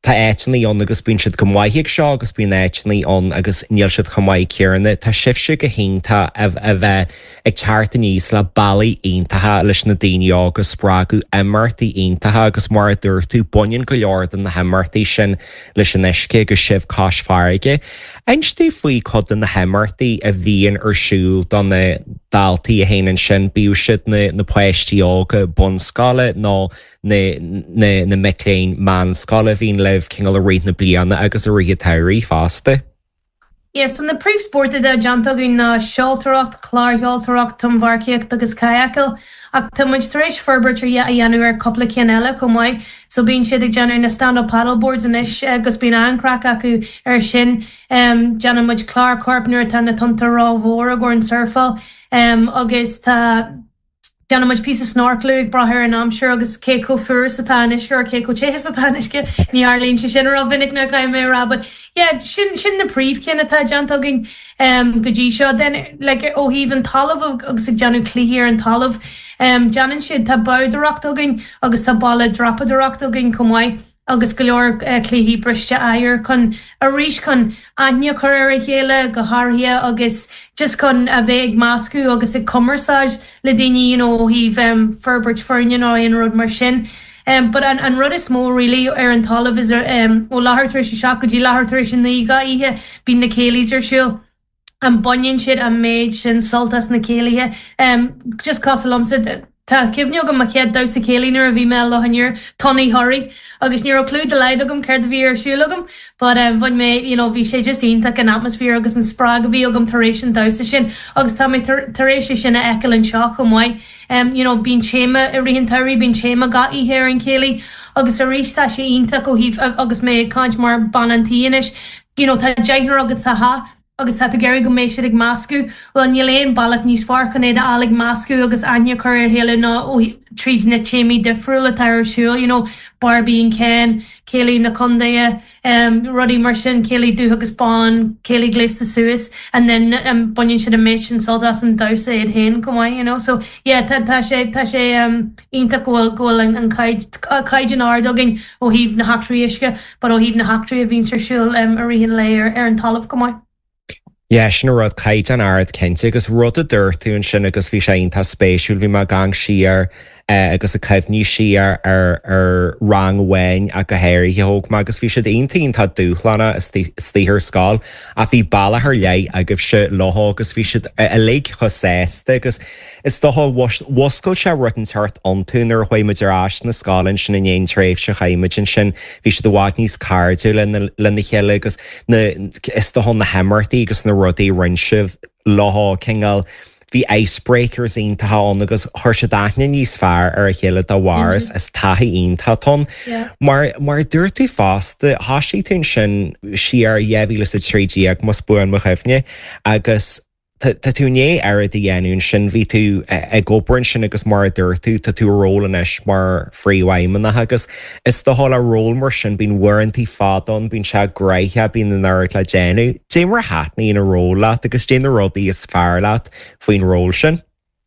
Tá áiteanna ann agus bíonn siad go maith ag seo agus bíonn áiteanna ann agus níl siad chomh maith céanna. Tá sibhse go hiontach a bheith ag teacht aníos le bealaí iontacha leis na daoine óga a spreagadh imeachtaí iontacha agus mar a dúirt tú baineann go leor de na himeachtaí sin leis an uisce agus sibh cois farraige. Inis domh faoi cuid de na himeachtaí a bhíonn ar siúl do na daltaí a théann ansin, bíodh siad na, na páistí óga bunscoile nó na, na, na mic léinn meánscoile a bhíonn libh cineál i rith na bliana agus i rith an tsamhraidh fosta. Yes, so na príomhspóirt atá déanta againn ná seoltóireacht, clársheoltóireacht, tonnmharcaíocht agus cadhcáil, ach tá muid tar éis forbairt ar a dhéanamh ar cúpla ceann eile chomh maith, so bíonn siad ag déanamh na stand-up paddleboards anois agus bíonn an-chraic acu ar sin. Um, déanann muid clár coirp nuair atá na tonnta rómhór i gcomhair an surfáil um, agus tá Déanann muid píosa snorclú ag brath ar an aimsir agus cé chomh fuar is atá an uisce or cé chomh te is atá an uisce ní tharlaíonn sé sin rómhinic ná caithfidh mé a rá but yeah sin sin na príomhchinn atá déanta againn um, go dtí seo then like ó thaobh an talamh agus ag déanamh cluichí ar an talamh um, déanann siad tá boghdóireacht againn agus tá balla dreapadóireacht againn chomh maith agus go leor uh, cluichí briste oighir chun arís chun aithne a chur ar a chéile go háirithe agus just chun a bheith ag meascadh agus ag cumarsáid le daoine you know, ó thaobh um, forbairt foirne nó aon rud mar sin. Um, but an, an rud is mó really ar an talamh is um, ó leathuair tar éis a seacht go dtí leathuair tar éis a naoi gach oíche bíonn na céilís ar siúl. An baineann siad an méid sin sult as na céilithe. Um, just cosúil liomsa Tá cuimhne agam mo chéad damhsa céilí nuair a bhí mé i Loch an Iúir, Tonnaí Thoraí, agus ní raibh clue dá laghad agam céard a bhí ar siúl agam, but um, bhain mé, you know, bhí sé just iontach an atmosphere agus an spreagadh a bhí agam tar éis an damhsa sin, agus tá mé tar, tar éis é sin a fheiceáil anseo chomh maith. Um, you know, bíonn téama i rith an tsamhraidh, bíonn téama gach oíche ar an chéilí, agus arís tá sé iontach ó thaobh agus mé ag caint mar bean an tí anois, you know, tá deichniúr agat sa teach, agus tá tú ag iarraidh go mbeidh siad ag meascadh, bhuel níl aon bealach níos fearr chun iad a fháil ag meascadh agus aithne a chur ar a chéile ná tríd na téamaí difriúla atá ar siúl, you know, Barbie and Ken, céilí na contaetha, um, rudaí mar sin, céilí dubh agus bán, céilí gléasta suas, and then um, baineann siad an méid sin sult as an damhsa iad féin chomh maith, you know. So yeah, tá, tá sé tá sé um, iontach go bhfuil go bhfuil an, an caighdeán ard againn ó thaobh na heachtraí uisce, but ó thaobh na heachtraí a bhíonn ar siúl um, i rith an lae ar, ar an talamh chomh maith. Yeah, sin rud caighdeán ard cinnte agus rud a dúirt tú ansin agus bhí sé iontach spéisiúil bhí mé ag amharc siar agus ag cuimhneamh siar ar ar rang amháin a go háirithe thóg mé agus bhí siad iontach iontach dúshlánach istigh ar scoil ach bhí bealach ar leith agaibhse leo agus bhí siad uilig chomh sásta agus is dócha mhuscail sé rud inteacht iontu nuair a chuaigh muid ar ais na scoile ansin in aon tréimhse chaith muid ansin bhí siad i bhfad níos cairdiúla lena chéile agus na is dócha na himeachtaí agus na rudaí rinne sibh leo cineál bhí icebreakers iontacha ann agus chuir siad aithne níos fearr ar a chéile dá bharr is is taithí iontach ann. Mar mar dúirt tú fosta thosaigh tú ansin siar dhá mhíle is a trí déag más buan mo chuimhne agus tá tú i ndiaidh oiread a dhéanamh ansin bhí tú ag obair ansin agus mar a dúirt tú tá tú ról anois mar phríomhfheidhmeannach agus is dócha le ról mar sin bíonn uaireanta fada ann bíonn sé gnoitheach bíonn an oiread le déanamh. Dé mar a thaitníonn an ról leat agus dé na rudaí is fearr leat faoin ról sin.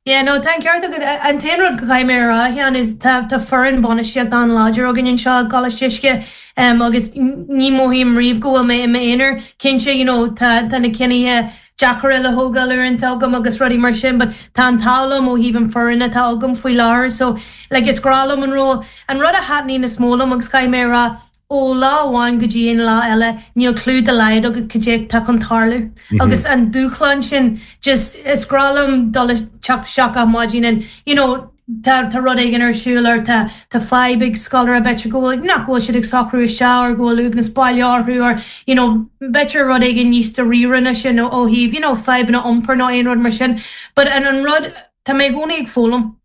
Yeah, no, tá ceart agat an t-aon rud go gcaithfidh mé a rá a Sheáin is tá tá foireann bainistíocht an-láidir againn anseo i gColáiste Uisce um, agus ní mothaím riamh go bhfuil mé i m'aonar cinnte you know, tá tá na cinnithe deacra le thógáil uaireanta agam agus rudaí mar sin, but tá an t-ádh liom ó thaobh an foireann atá agam faoi láthair, so like, is grá liom an ról. An rud a thaitníonn is mó liom agus caithfidh mé a rá ó lá amháin go dtí an lá eile níl clue dá laghad agat cad é tá chun tarlú. Agus an dúshlán sin just is grá liom dul teacht isteach ar maidin and you know, tá tá rud éigin ar siúl or tá tá fadhb ag scoláire b'fhéidir go bhfuil nach bhfuil siad ag socrú isteach or go bhfuil uaigneas baile orthu or you know, b'fhéidir rud éigin níos dáiríre ná sin ó ó thaobh you know, fadhbanna iompair nó aon rud mar sin. But an an rud tá mé i gcónaí ag foghlaim.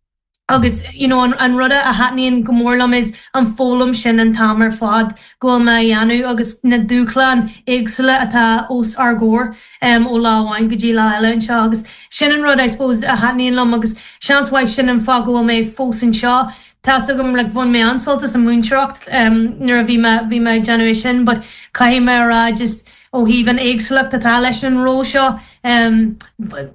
agus you know, an, an rud a thaitníonn go mór liom is an foghlaim sin an t-am ar fad go bhfuil mé a dhéanamh agus na dúshláin éagsúla atá os ár gcomhair um, ó lá amháin go dtí lá eile anseo agus sin an rud I suppose a thaitníonn liom agus seans mhaith sin an fáth go bhfuil mé fós anseo. Tá agam le bhain mé an-sult as an múinteoireacht um, nuair a bhí mé bhí mé ag déanamh é sin, but caithfidh mé a rá just ó thaobh an éagsúlacht atá leis an ról seo um,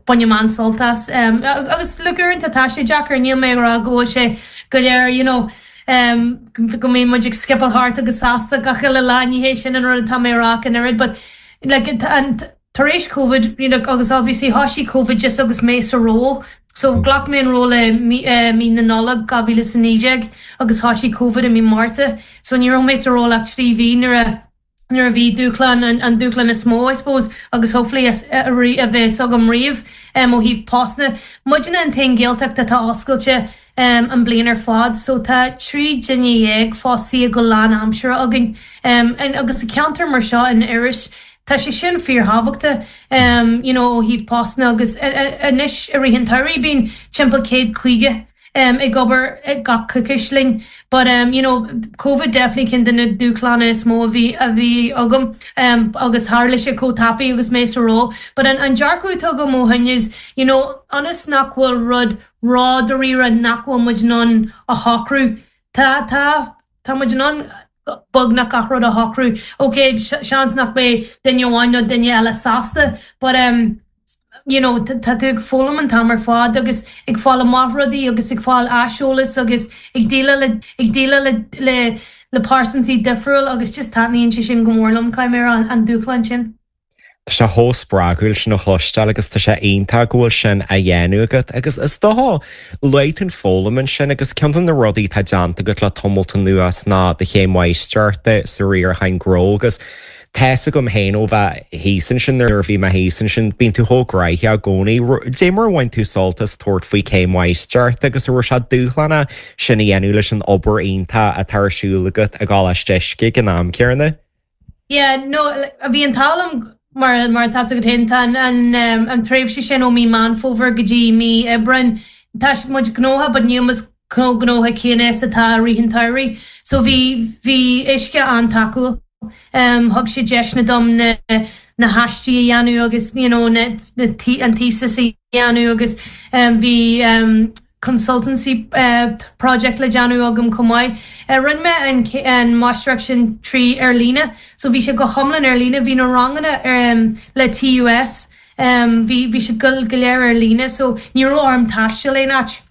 bainim an-sult as. Um, agus le uaireanta tá sé deacair níl mé rá go bhfuil sé go léir you know, um, go mbíonn muid ag scipeáil thart agus sásta gach uile lá ní hé sin an rud atá mé rá an oiread, but like, an, tar éis COVID you know, agus obviously thosaigh COVID just agus mé sa ról. So ghlac mé an ról i mí, uh, mí na Nollag dhá mhíle is a naoi déag agus thosaigh COVID i mí Márta. So ní raibh mé sa ról ach trí mhí nuair a nuair a bhí dúshlán an, an dúshlán is mó I suppose agus hopefully a, a, a bheas agam riamh um, ó thaobh postanna. Muidne an t-aon Ghaeltacht atá oscailte um, an bliain ar fad, so tá trí duine dhéag fostaithe go lánaimseartha againn. Um, and, agus sa ceantar mar seo in Iorras, Tá sé sin fíorthábhachtach um, you know, ó thaobh postanna agus anois i rith an tsamhraidh bíonn timpeall céad caoga um, ag obair ag gach coicís linn. But um, you know, COVID definitely ceann de na dúshláin is mó a bhí a bhí agam um, agus tharla sé chomh tapaidh agus mé sa ról. But an, an dearcadh atá agam ó shin is, you know, ionas nach bhfuil rud ródháiríre nach bhfuil muid in ann a shocrú. Tá tá tá muid in ann beagnach gach rud a shocrú. Ok, seans nach mbeidh duine amháin nó duine eile sásta, but um, you know, tá tú ag foghlaim an t-am ar fad agus ag fáil amach rudaí agus ag fáil aiseolas agus ag déileáil le ag déileáil le le le pearsantaí difriúil agus just taitníonn sé sin go mór liom caithfidh mé an, an dúshlán sin. Tá sé chomh spreagúil sin a chloisteáil agus tá sé iontach go bhfuil sin á dhéanamh agat agus is dócha luaigh tú an foghlaim ansin agus ceann de na rudaí atá déanta agat le tamall anuas ná do chéim mháistreachta sa riarachán gnó agus Tá's agam féin ó bheith thíos ansin nuair a bhí mé thíos ansin bíonn tú chomh gnoitheach i gcónaí. Dé mar a bhain tú sult as tabhairt faoi céim mháistreachta agus an raibh sé dúshlánach sin a dhéanamh leis an obair iontach atá ar siúl agat i gColáiste Uisce ag an am céanna? Yeah, no, bhí an t-ádh liom mar mar atá agat féin tá an an um, an tréimhse sin ó mí Meán Fómhair go dtí mí Aibreáin tá muid gnóthach but níl muid chomh gnóthach céanna is atá i rith an tsamhraidh. So bhí bhí Uisce an-tacúil. Um, thug sé deiseanna dom na na haistí a dhéanamh agus you know, na, na an thesis a dhéanamh agus um, bhí um, consultancy uh, project le déanamh agam chomh maith. Uh, Rinne mé an, an máistreacht sin trí ar líne, so bhí sé go hiomlán ar líne, bhí na ranganna um, le TUS, um, bhí bhí siad go go léir ar líne, so ní raibh orm taisteal aon áit.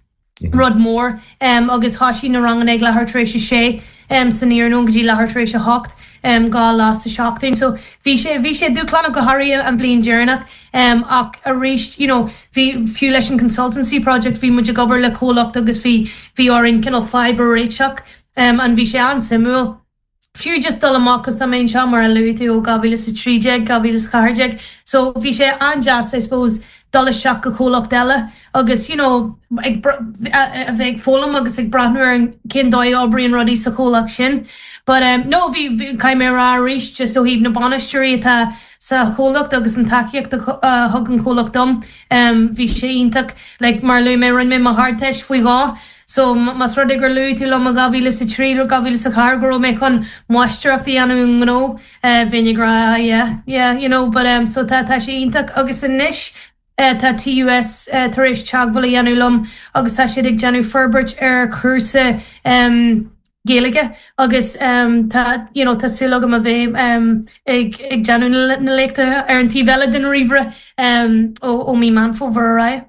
rud mór um, agus thosaigh na ranganna ag leathuair tar éis a sé um, san iarnóin go dtí leathuair tar éis a hocht um, dhá lá sa seachtain. So bhí sé bhí sé dúshlánach go háirithe an bhliain deireanach um, ach arís you know, bhí fiú leis an consultancy project bhí muid ag obair le comhlacht agus bhí bhí orainn cineál fadhb a réiteach um, an bhí sé an-suimiúil. Fiú just dul amach tá mé anseo mar a luaigh tú ó dhá mhíle a trí déag dhá mhíle ceathair déag, so bhí sé an-deas I suppose dul isteach go comhlacht eile agus you know, ag a bheith ag foghlaim agus ag breathnú ar an cén dóigh a oibríonn rudaí sa chomhlacht sin. But um, no bhí caithfidh mé rá arís just ó thaobh na bainisteoirí atá sa chomhlacht agus an tacaíocht a thug an comhlacht dom um, bhí sé iontach like, mar luaigh mé rinne mé mo Ardteist faoi dhó. So más rud é gur luaigh tú liom dhá mhíle a trí nó dhá mhíle a ceathair go raibh mé chun máistreacht a dhéanamh gnó bheinn ag rá yeah, yeah, you know, but um, so tá tá sé iontach agus anois uh, tá TUS uh, tar éis teagmháil a dhéanamh liom agus tá siad ag déanamh forbairt ar chúrsa um, Gaeilge agus um, tá you know, tá súil agam a bheith um, ag, ag déanamh na léachta ar an taobh eile den ríomhaire um, ó, ó mí Meán Fómhair ar aghaidh.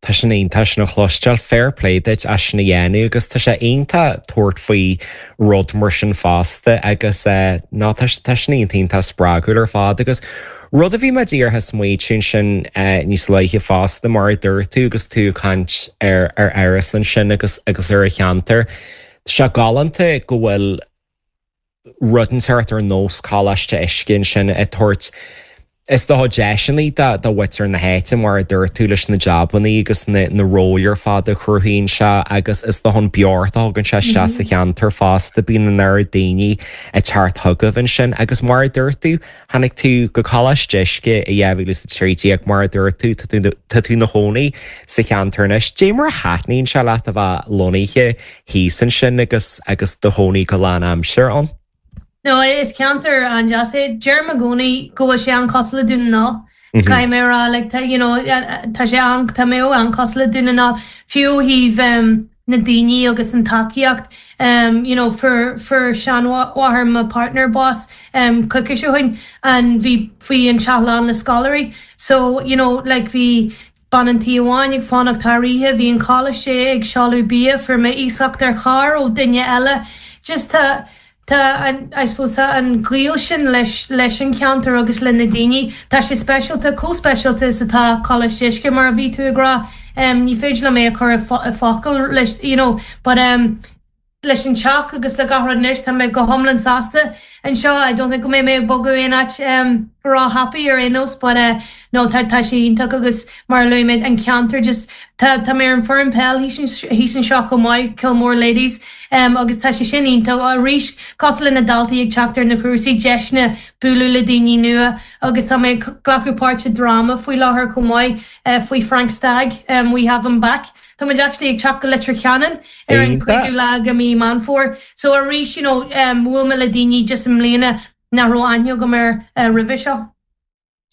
Tá sin iontach sin a chloisteáil fair play duit as sin a dhéanamh agus tá sé iontach tabhairt faoi rud mar sin fosta agus uh, ná tá sin iontach spreagúil ar fad agus rud a bhí mé díreach ag smaointiú sin uh, níos luaithe fosta mar a dúirt tú agus tú ag caint ar ar Iorras ansin agus agus ar a cheantar. Sé galánta go bhfuil rud inteacht ar nós Coláiste Uisce sin ag tabhairt Is dócha deiseanna do do mhuintir na háite mar a dúirt tú leis na jabanna agus na, na róil ar fad a chruthaíonn sé agus is dócha an beocht a thugann sé isteach sa cheantar fosta bíonn an oiread daoine ag teacht chugaibh ansin agus mar a dúirt tú tháinig tú go Coláiste Uisce i dhá mhíle a trí déag mar a dúirt tú tá tú i do chónaí sa cheantar anois. Dé mar a thaitníonn sé leat a bheith lonnaithe thíos ansin agus agus do chónaí go lánaimseartha ann. No is ceantar an-deas é deirim i gcónaí go bhfuil sé an-chosúil le Dún na nGall. Caithfidh mé rá like, tá you know, tá sé an tá mé an-chosúil le Dún na nGall fiú thaobh um, na daoine agus an tacaíocht um, you know, for for seanmháthair mo partner bás um, coicís ó shin an bhí bhí an teach lán le scoláirí. So you know, like bhí bean an tí amháin ag fanacht thar oíche, bhí an choláiste ag seoladh bia fuair mé iasacht ar charr ó duine eile. Just tá Tá an I suppose tá an gaol sin leis leis an ceantar agus le na daoine Tá sé speisialta chomh speisialta is atá Coláiste Uisce mar a bhí tú ag rá um, ní féidir liom é a chur i bhfocail leis you know, but um, leis an teach agus le gach rud anois tá mé go hiomlán sásta anseo I don't think go mbeidh mé ag bogadh aon áit um, róthapaidh ar aon nós but uh, no tá tá sé iontach agus mar a luaigh mé an ceantar just tá tá mé ar an foireann peil thíos anseo chomh maith Kilmore Ladies um, agus tá sé sin iontach arís cosúil le na daltaí ag teacht ar na cúrsaí deiseanna bualadh le daoine nua agus tá mé glacadh páirt i dráma faoi láthair chomh maith uh, faoi Frank Stagg um, we have him back. Tá muid actually ag teacht go Leitir Ceanainn ar an cúigiú lá de mhí Meán Fómhair. So arís you know, um, bhuail mé le daoine just i mbliana nach raibh aithne agam air uh, roimhe seo.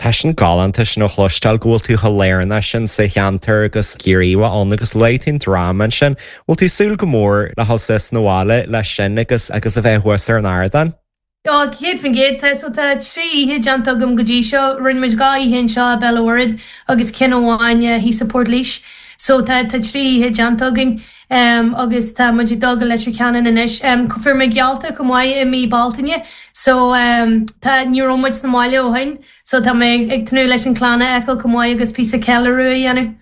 Tá sin galánta sin a chloisteáil go bhfuil tú chomh lárnach sin sa cheantar agus Ciarraí ann agus luaigh tú an dráma sin, bhfuil tú súil go mór le dhul suas na bhaile leis sin agus agus a bheith thuas ar an ardán? Á céad faoin gcéad tá so tá trí oíche déanta agam go dtí seo rinne muid dhá oíche anseo i Béal Mhuirthead agus ceann amháin thíos i Port Laoise. So tá tá trí oíche déanta againn um, agus tá muid ag dul go Leitir Ceanainn anois. Um, Fuair mé geallta go maith i mí Bealtaine, so um, tá ní raibh muid sa mbaile ó shin, so tá mé ag tnúth leis an chlann a fheiceáil chomh maith agus píosa ceiliúradh a dhéanamh.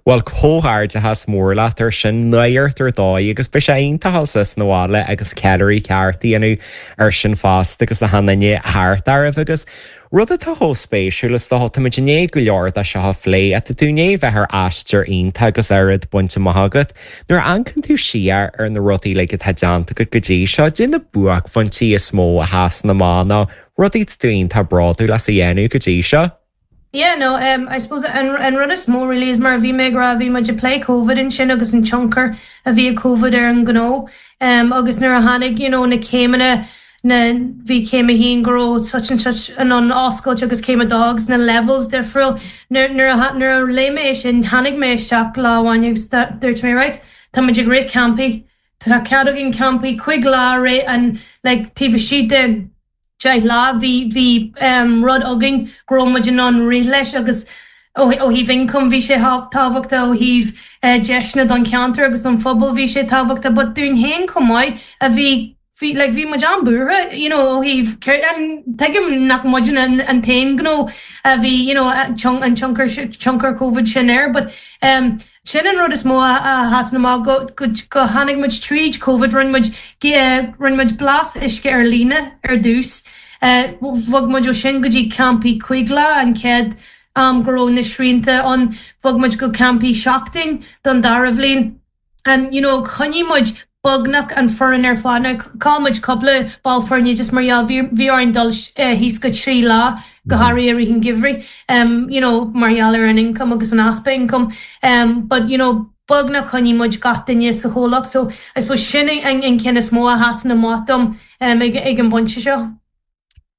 Well comhghairdeachas mór leat ar sin neart ar dóigh agus beidh sé iontach suas na bhaile agus ceiliúradh ceart a dhéanamh ar sin fosta agus na daoine thart oraibh agus rud atá chomh spéisiúil is dócha táimid i ndiaidh go leor de seo a phlé tá tú i ndiaidh bheith ar aistear iontach agus oiread bainte amach agat nuair a amharcann tú siar ar na rudaí uilig atá déanta agat go dtí seo cad é na buaicphointí is mó a sheasann amach nó rudaí tú iontach bródúil as a dhéanamh go dtí seo. Yeah, no, um, I suppose an, an rud is mó really is mar bhí mé ag rá bhí muid ag plé COVID ansin agus an tionchar a bhí ag COVID ar an gnó um, agus nuair a tháinig you know, na céimeanna na bhí céim a haon go raibh such and such an an oscailt agus céim a dó agus na levels difriúil nuair nuair a léigh mé sin tháinig mé isteach lá amháin agus dúirt mé right Tá muid ag rith campaí Tá cead againn campaí cúig lá ré an like, taobh istigh de deich lá bhí bhí um, rud againn go raibh muid in ann rith leis agus ó thaobh income bhí sé tábhachtach ó thaobh uh, deiseanna don cheantar agus don phobal bhí sé tábhachtach, but dúinn féin chomh maith a bhí bhí like, bhí muid an-bhuartha you know, ó thaobh tuigim nach muid an, an t-aon ghnó a bhí you know, an tionchar tionchar COVID sin air, but um, sin an rud is mó a sheasann amach go, go, go tháinig muid tríd COVID rinne muid rinne muid blas uisce ar líne ar dtús. Uh, bhog muid ó sin go dtí campaí cúig lá an chéad um, go raibh na srianta an bhog muid go campaí seachtain don dara bhliain. And you know, choinnigh muid beagnach an foireann ar fad chaill muid cúpla ball foirne just mar bhí orainn dul uh, thíos go trí lá go háirithe i rith an gheimhridh um, you know, mar gheall ar an income agus an easpa income um, but you know, beagnach choinnigh muid gach duine sa chomhlacht so I suppose sin an, an ceann is mó a sheasann amach dom um, ag, ag an bpointe seo.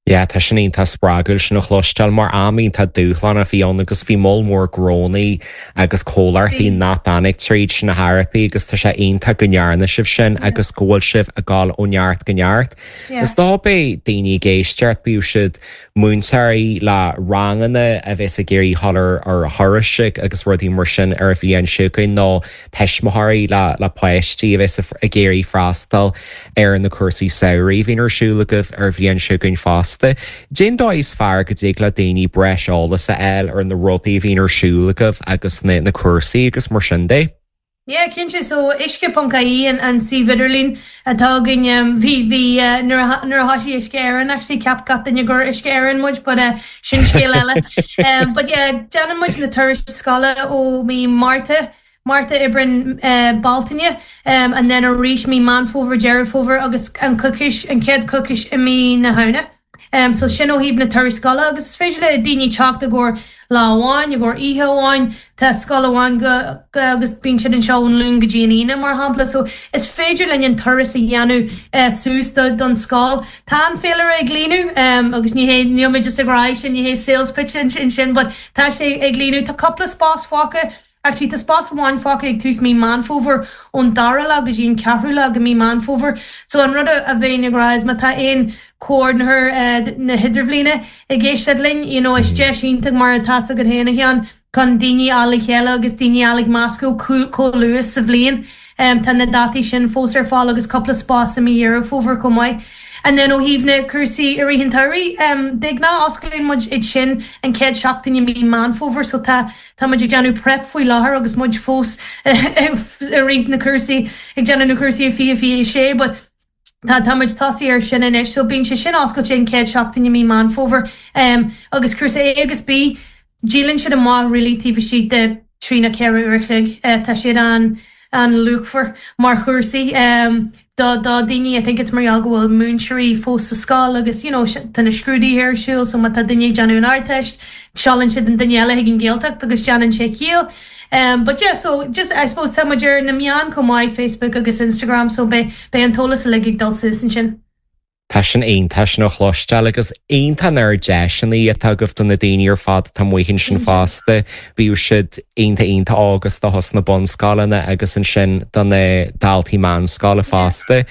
Ja, tá sin iontach spreagúil sin a chloisteáil mar am iontach dúshlánach a bhí ann agus bhí moll mór gnónna agus comhlachtaí nach dtáinig tríd sin na hairpí agus tá sé iontach go ndearna sibh sin agus go bhfuil sibh ag dul ó neart go neart. Is dá bé daoine ag éisteacht bíodh siad múinteoirí le ranganna a bheas ag iarraidh dul ar ar thurais agus rudaí mar sin ar a bhliain seo chugainn nó tuismitheoirí le le páistí a bheas ag iarraidh freastal ar na cúrsaí samhraidh a bhíonn ar siúl agaibh ar bhliain seo chugainn fosta. Cén dóigh is fearr go dtig le daoine breis eolas a fháil ar na rudaí a bhíonn ar siúl agaibh agus na, na cúrsaí agus mar sin de. Yeah, cinnte so uisce.ie an, an suíomh idirlín atá againn um, bhí bhí uh, nuair a thosaigh Uisce Éireann actually cheap gach duine gur Uisce Éireann muid, but uh, sin scéal eile. um, but yeah, déanann muid na turais scoile ó mí Márta Márta Aibreán uh, Bealtaine um, and then arís mí Meán Fómhair Deireadh Fómhair agus an coicís an chéad coicís i mí na Samhna. Um, so sin ó thaobh na turais scoile agus is féidir le daoine teacht i gcomhair lá amháin, i gcomhair oíche amháin tá scoil amháin go, go, agus bíonn siad anseo ón Luan go dtí an Aoine mar shampla, so is féidir linn an turas a dhéanamh uh, suas do, don scoil. Tá an féilire ag líonadh um, agus ní hé níl mé just ag rá sin ní hé sales pitch sin sin, but tá sé ag líonadh tá cúpla spás fágtha Actually, tá spás amháin fágtha ag tús mí Meán Fómhair ón dara lá go dtí an ceathrú lá de mí Meán Fómhair. So an rud a bheinn ag rá is má tá aon coordinator uh, na hidirbhliana ag éisteacht linn, you know, is deis iontach mar atá go héana chean chun daoine a le chéile agus daoine a ag meascadh chomh luath sa bhliain. Um, tá na dátaí sin fós ar fáil agus cúpla spás i mí Dheireadh Fómhair chomh maith. And then ó thaobh na cúrsaí i rith an tsamhraidh um, de ghnáth osclaíonn muid iad sin an chéad seachtain i mí Meán Fómhair, so tá tá muid ag déanamh prep faoi láthair agus muid fós i rith na cúrsaí ag déanamh na cúrsaí fiche fiche sé, but Tá tá muid tosaithe ar sin anois, so bíonn sé sin oscailte an chéad seachtain i mí Meán Fómhair um, agus cúrsa A agus B díolann siad amach really taobh istigh de trí nó ceithre uair a chloig uh, tá siad an an luachmhar mar chúrsaí um, do do daoine I think it's mar go bhfuil múinteoirí fós sa scoil agus you know, tá na scrúduithe ar siúl so má tá duine ag déanamh an Ardteist, seolann siad an duine eile chuig an Ghaeltacht agus déanann sé ciall. Um, but yeah, so just I suppose tá muid ar na meáin chomh maith Facebook agus Instagram so beidh beidh an t-eolas uilig ag dul suas ansin. Tá sin iontach sin a chloisteáil agus iontach ar deiseanna atá agaibh do na daoine ar fad tá muhin sin fosta, bíodh siad iontach iontach óg do thús na bunscoileanna agus ansin do na daltaí meánscoile fosta.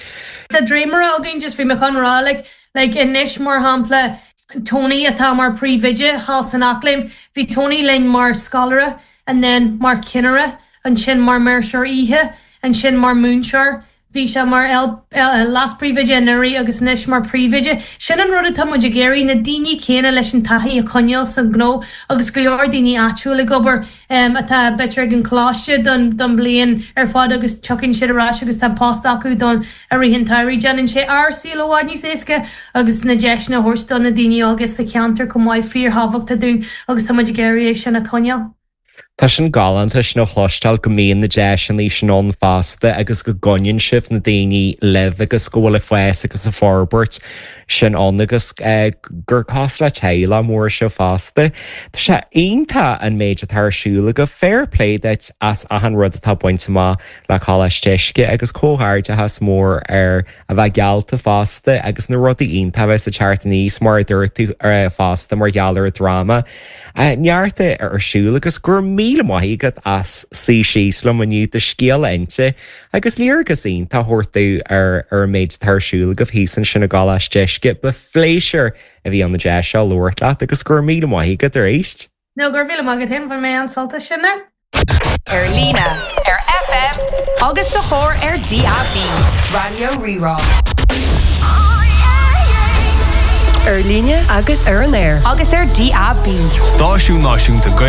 Tá dréimire againn just bhí mé chun rá like, like anois mar shampla Tony atá mar príomhoide thall san Eachléim, bhí Tony linn mar scoláire and then mar chinnire, ansin mar maoirseoir oíche, ansin mar múinteoir, Bhí sé mar leas-phríomhoide anuraidh agus anois mar phríomhoide. Sin an rud atá muid ag iarraidh, na daoine céanna leis an taithí a choinneáil sa ghnó agus go leor daoine áitiúil ag obair atá b'fhéidir ag an choláiste don don bliain ar fad agus tiocfaidh siad ar ais agus tá post acu don i rith an tsamhraidh. Déanann sé ár saol i bhfad níos éasca agus na deiseanna a thabhairt do na daoine óga sa cheantar chomh maith fíorthábhachtach dúinn agus tá muid ag iarraidh é sin a choinneáil. Tá sin galánta sin a chloisteáil go mbíonn na deiseanna sin ann fosta agus go gcoinníonn sibh na daoine libh agus go bhfuil ag fás agus ag forbairt sin ann agus gur cosúil le teaghlach mór sibh fosta. Tá sé iontach an méid atá ar siúl agaibh. Fair play duit as achan rud atá bainte amach le Coláiste Uisce agus comhghairdeachas mór ar a bheith geallta fosta agus na rudaí iontacha a bheas ag teacht aníos mar a dúirt tú fosta mar gheall ar an dráma. Neart ar siúl agus go raibh míle maith agat as suí síos liom inniu do scéal a inse agus léargas iontach a thabhairt domh ar ar an méid atá ar siúl agaibh thíos ansin i gColáiste Uisce. Ba phléisiúr a bhí ann an deis seo labhairt leat agus go raibh míle maith agat arís. No, go raibh míle maith agat féin, bhain mé an-sult as sin. Ar líne, ar FM agus sa charr ar DAB. Raidió Rí-Rá. Ar líne agus ar an aer. Agus ar DAB. Stáisiún Náisiúnta Gaeilge.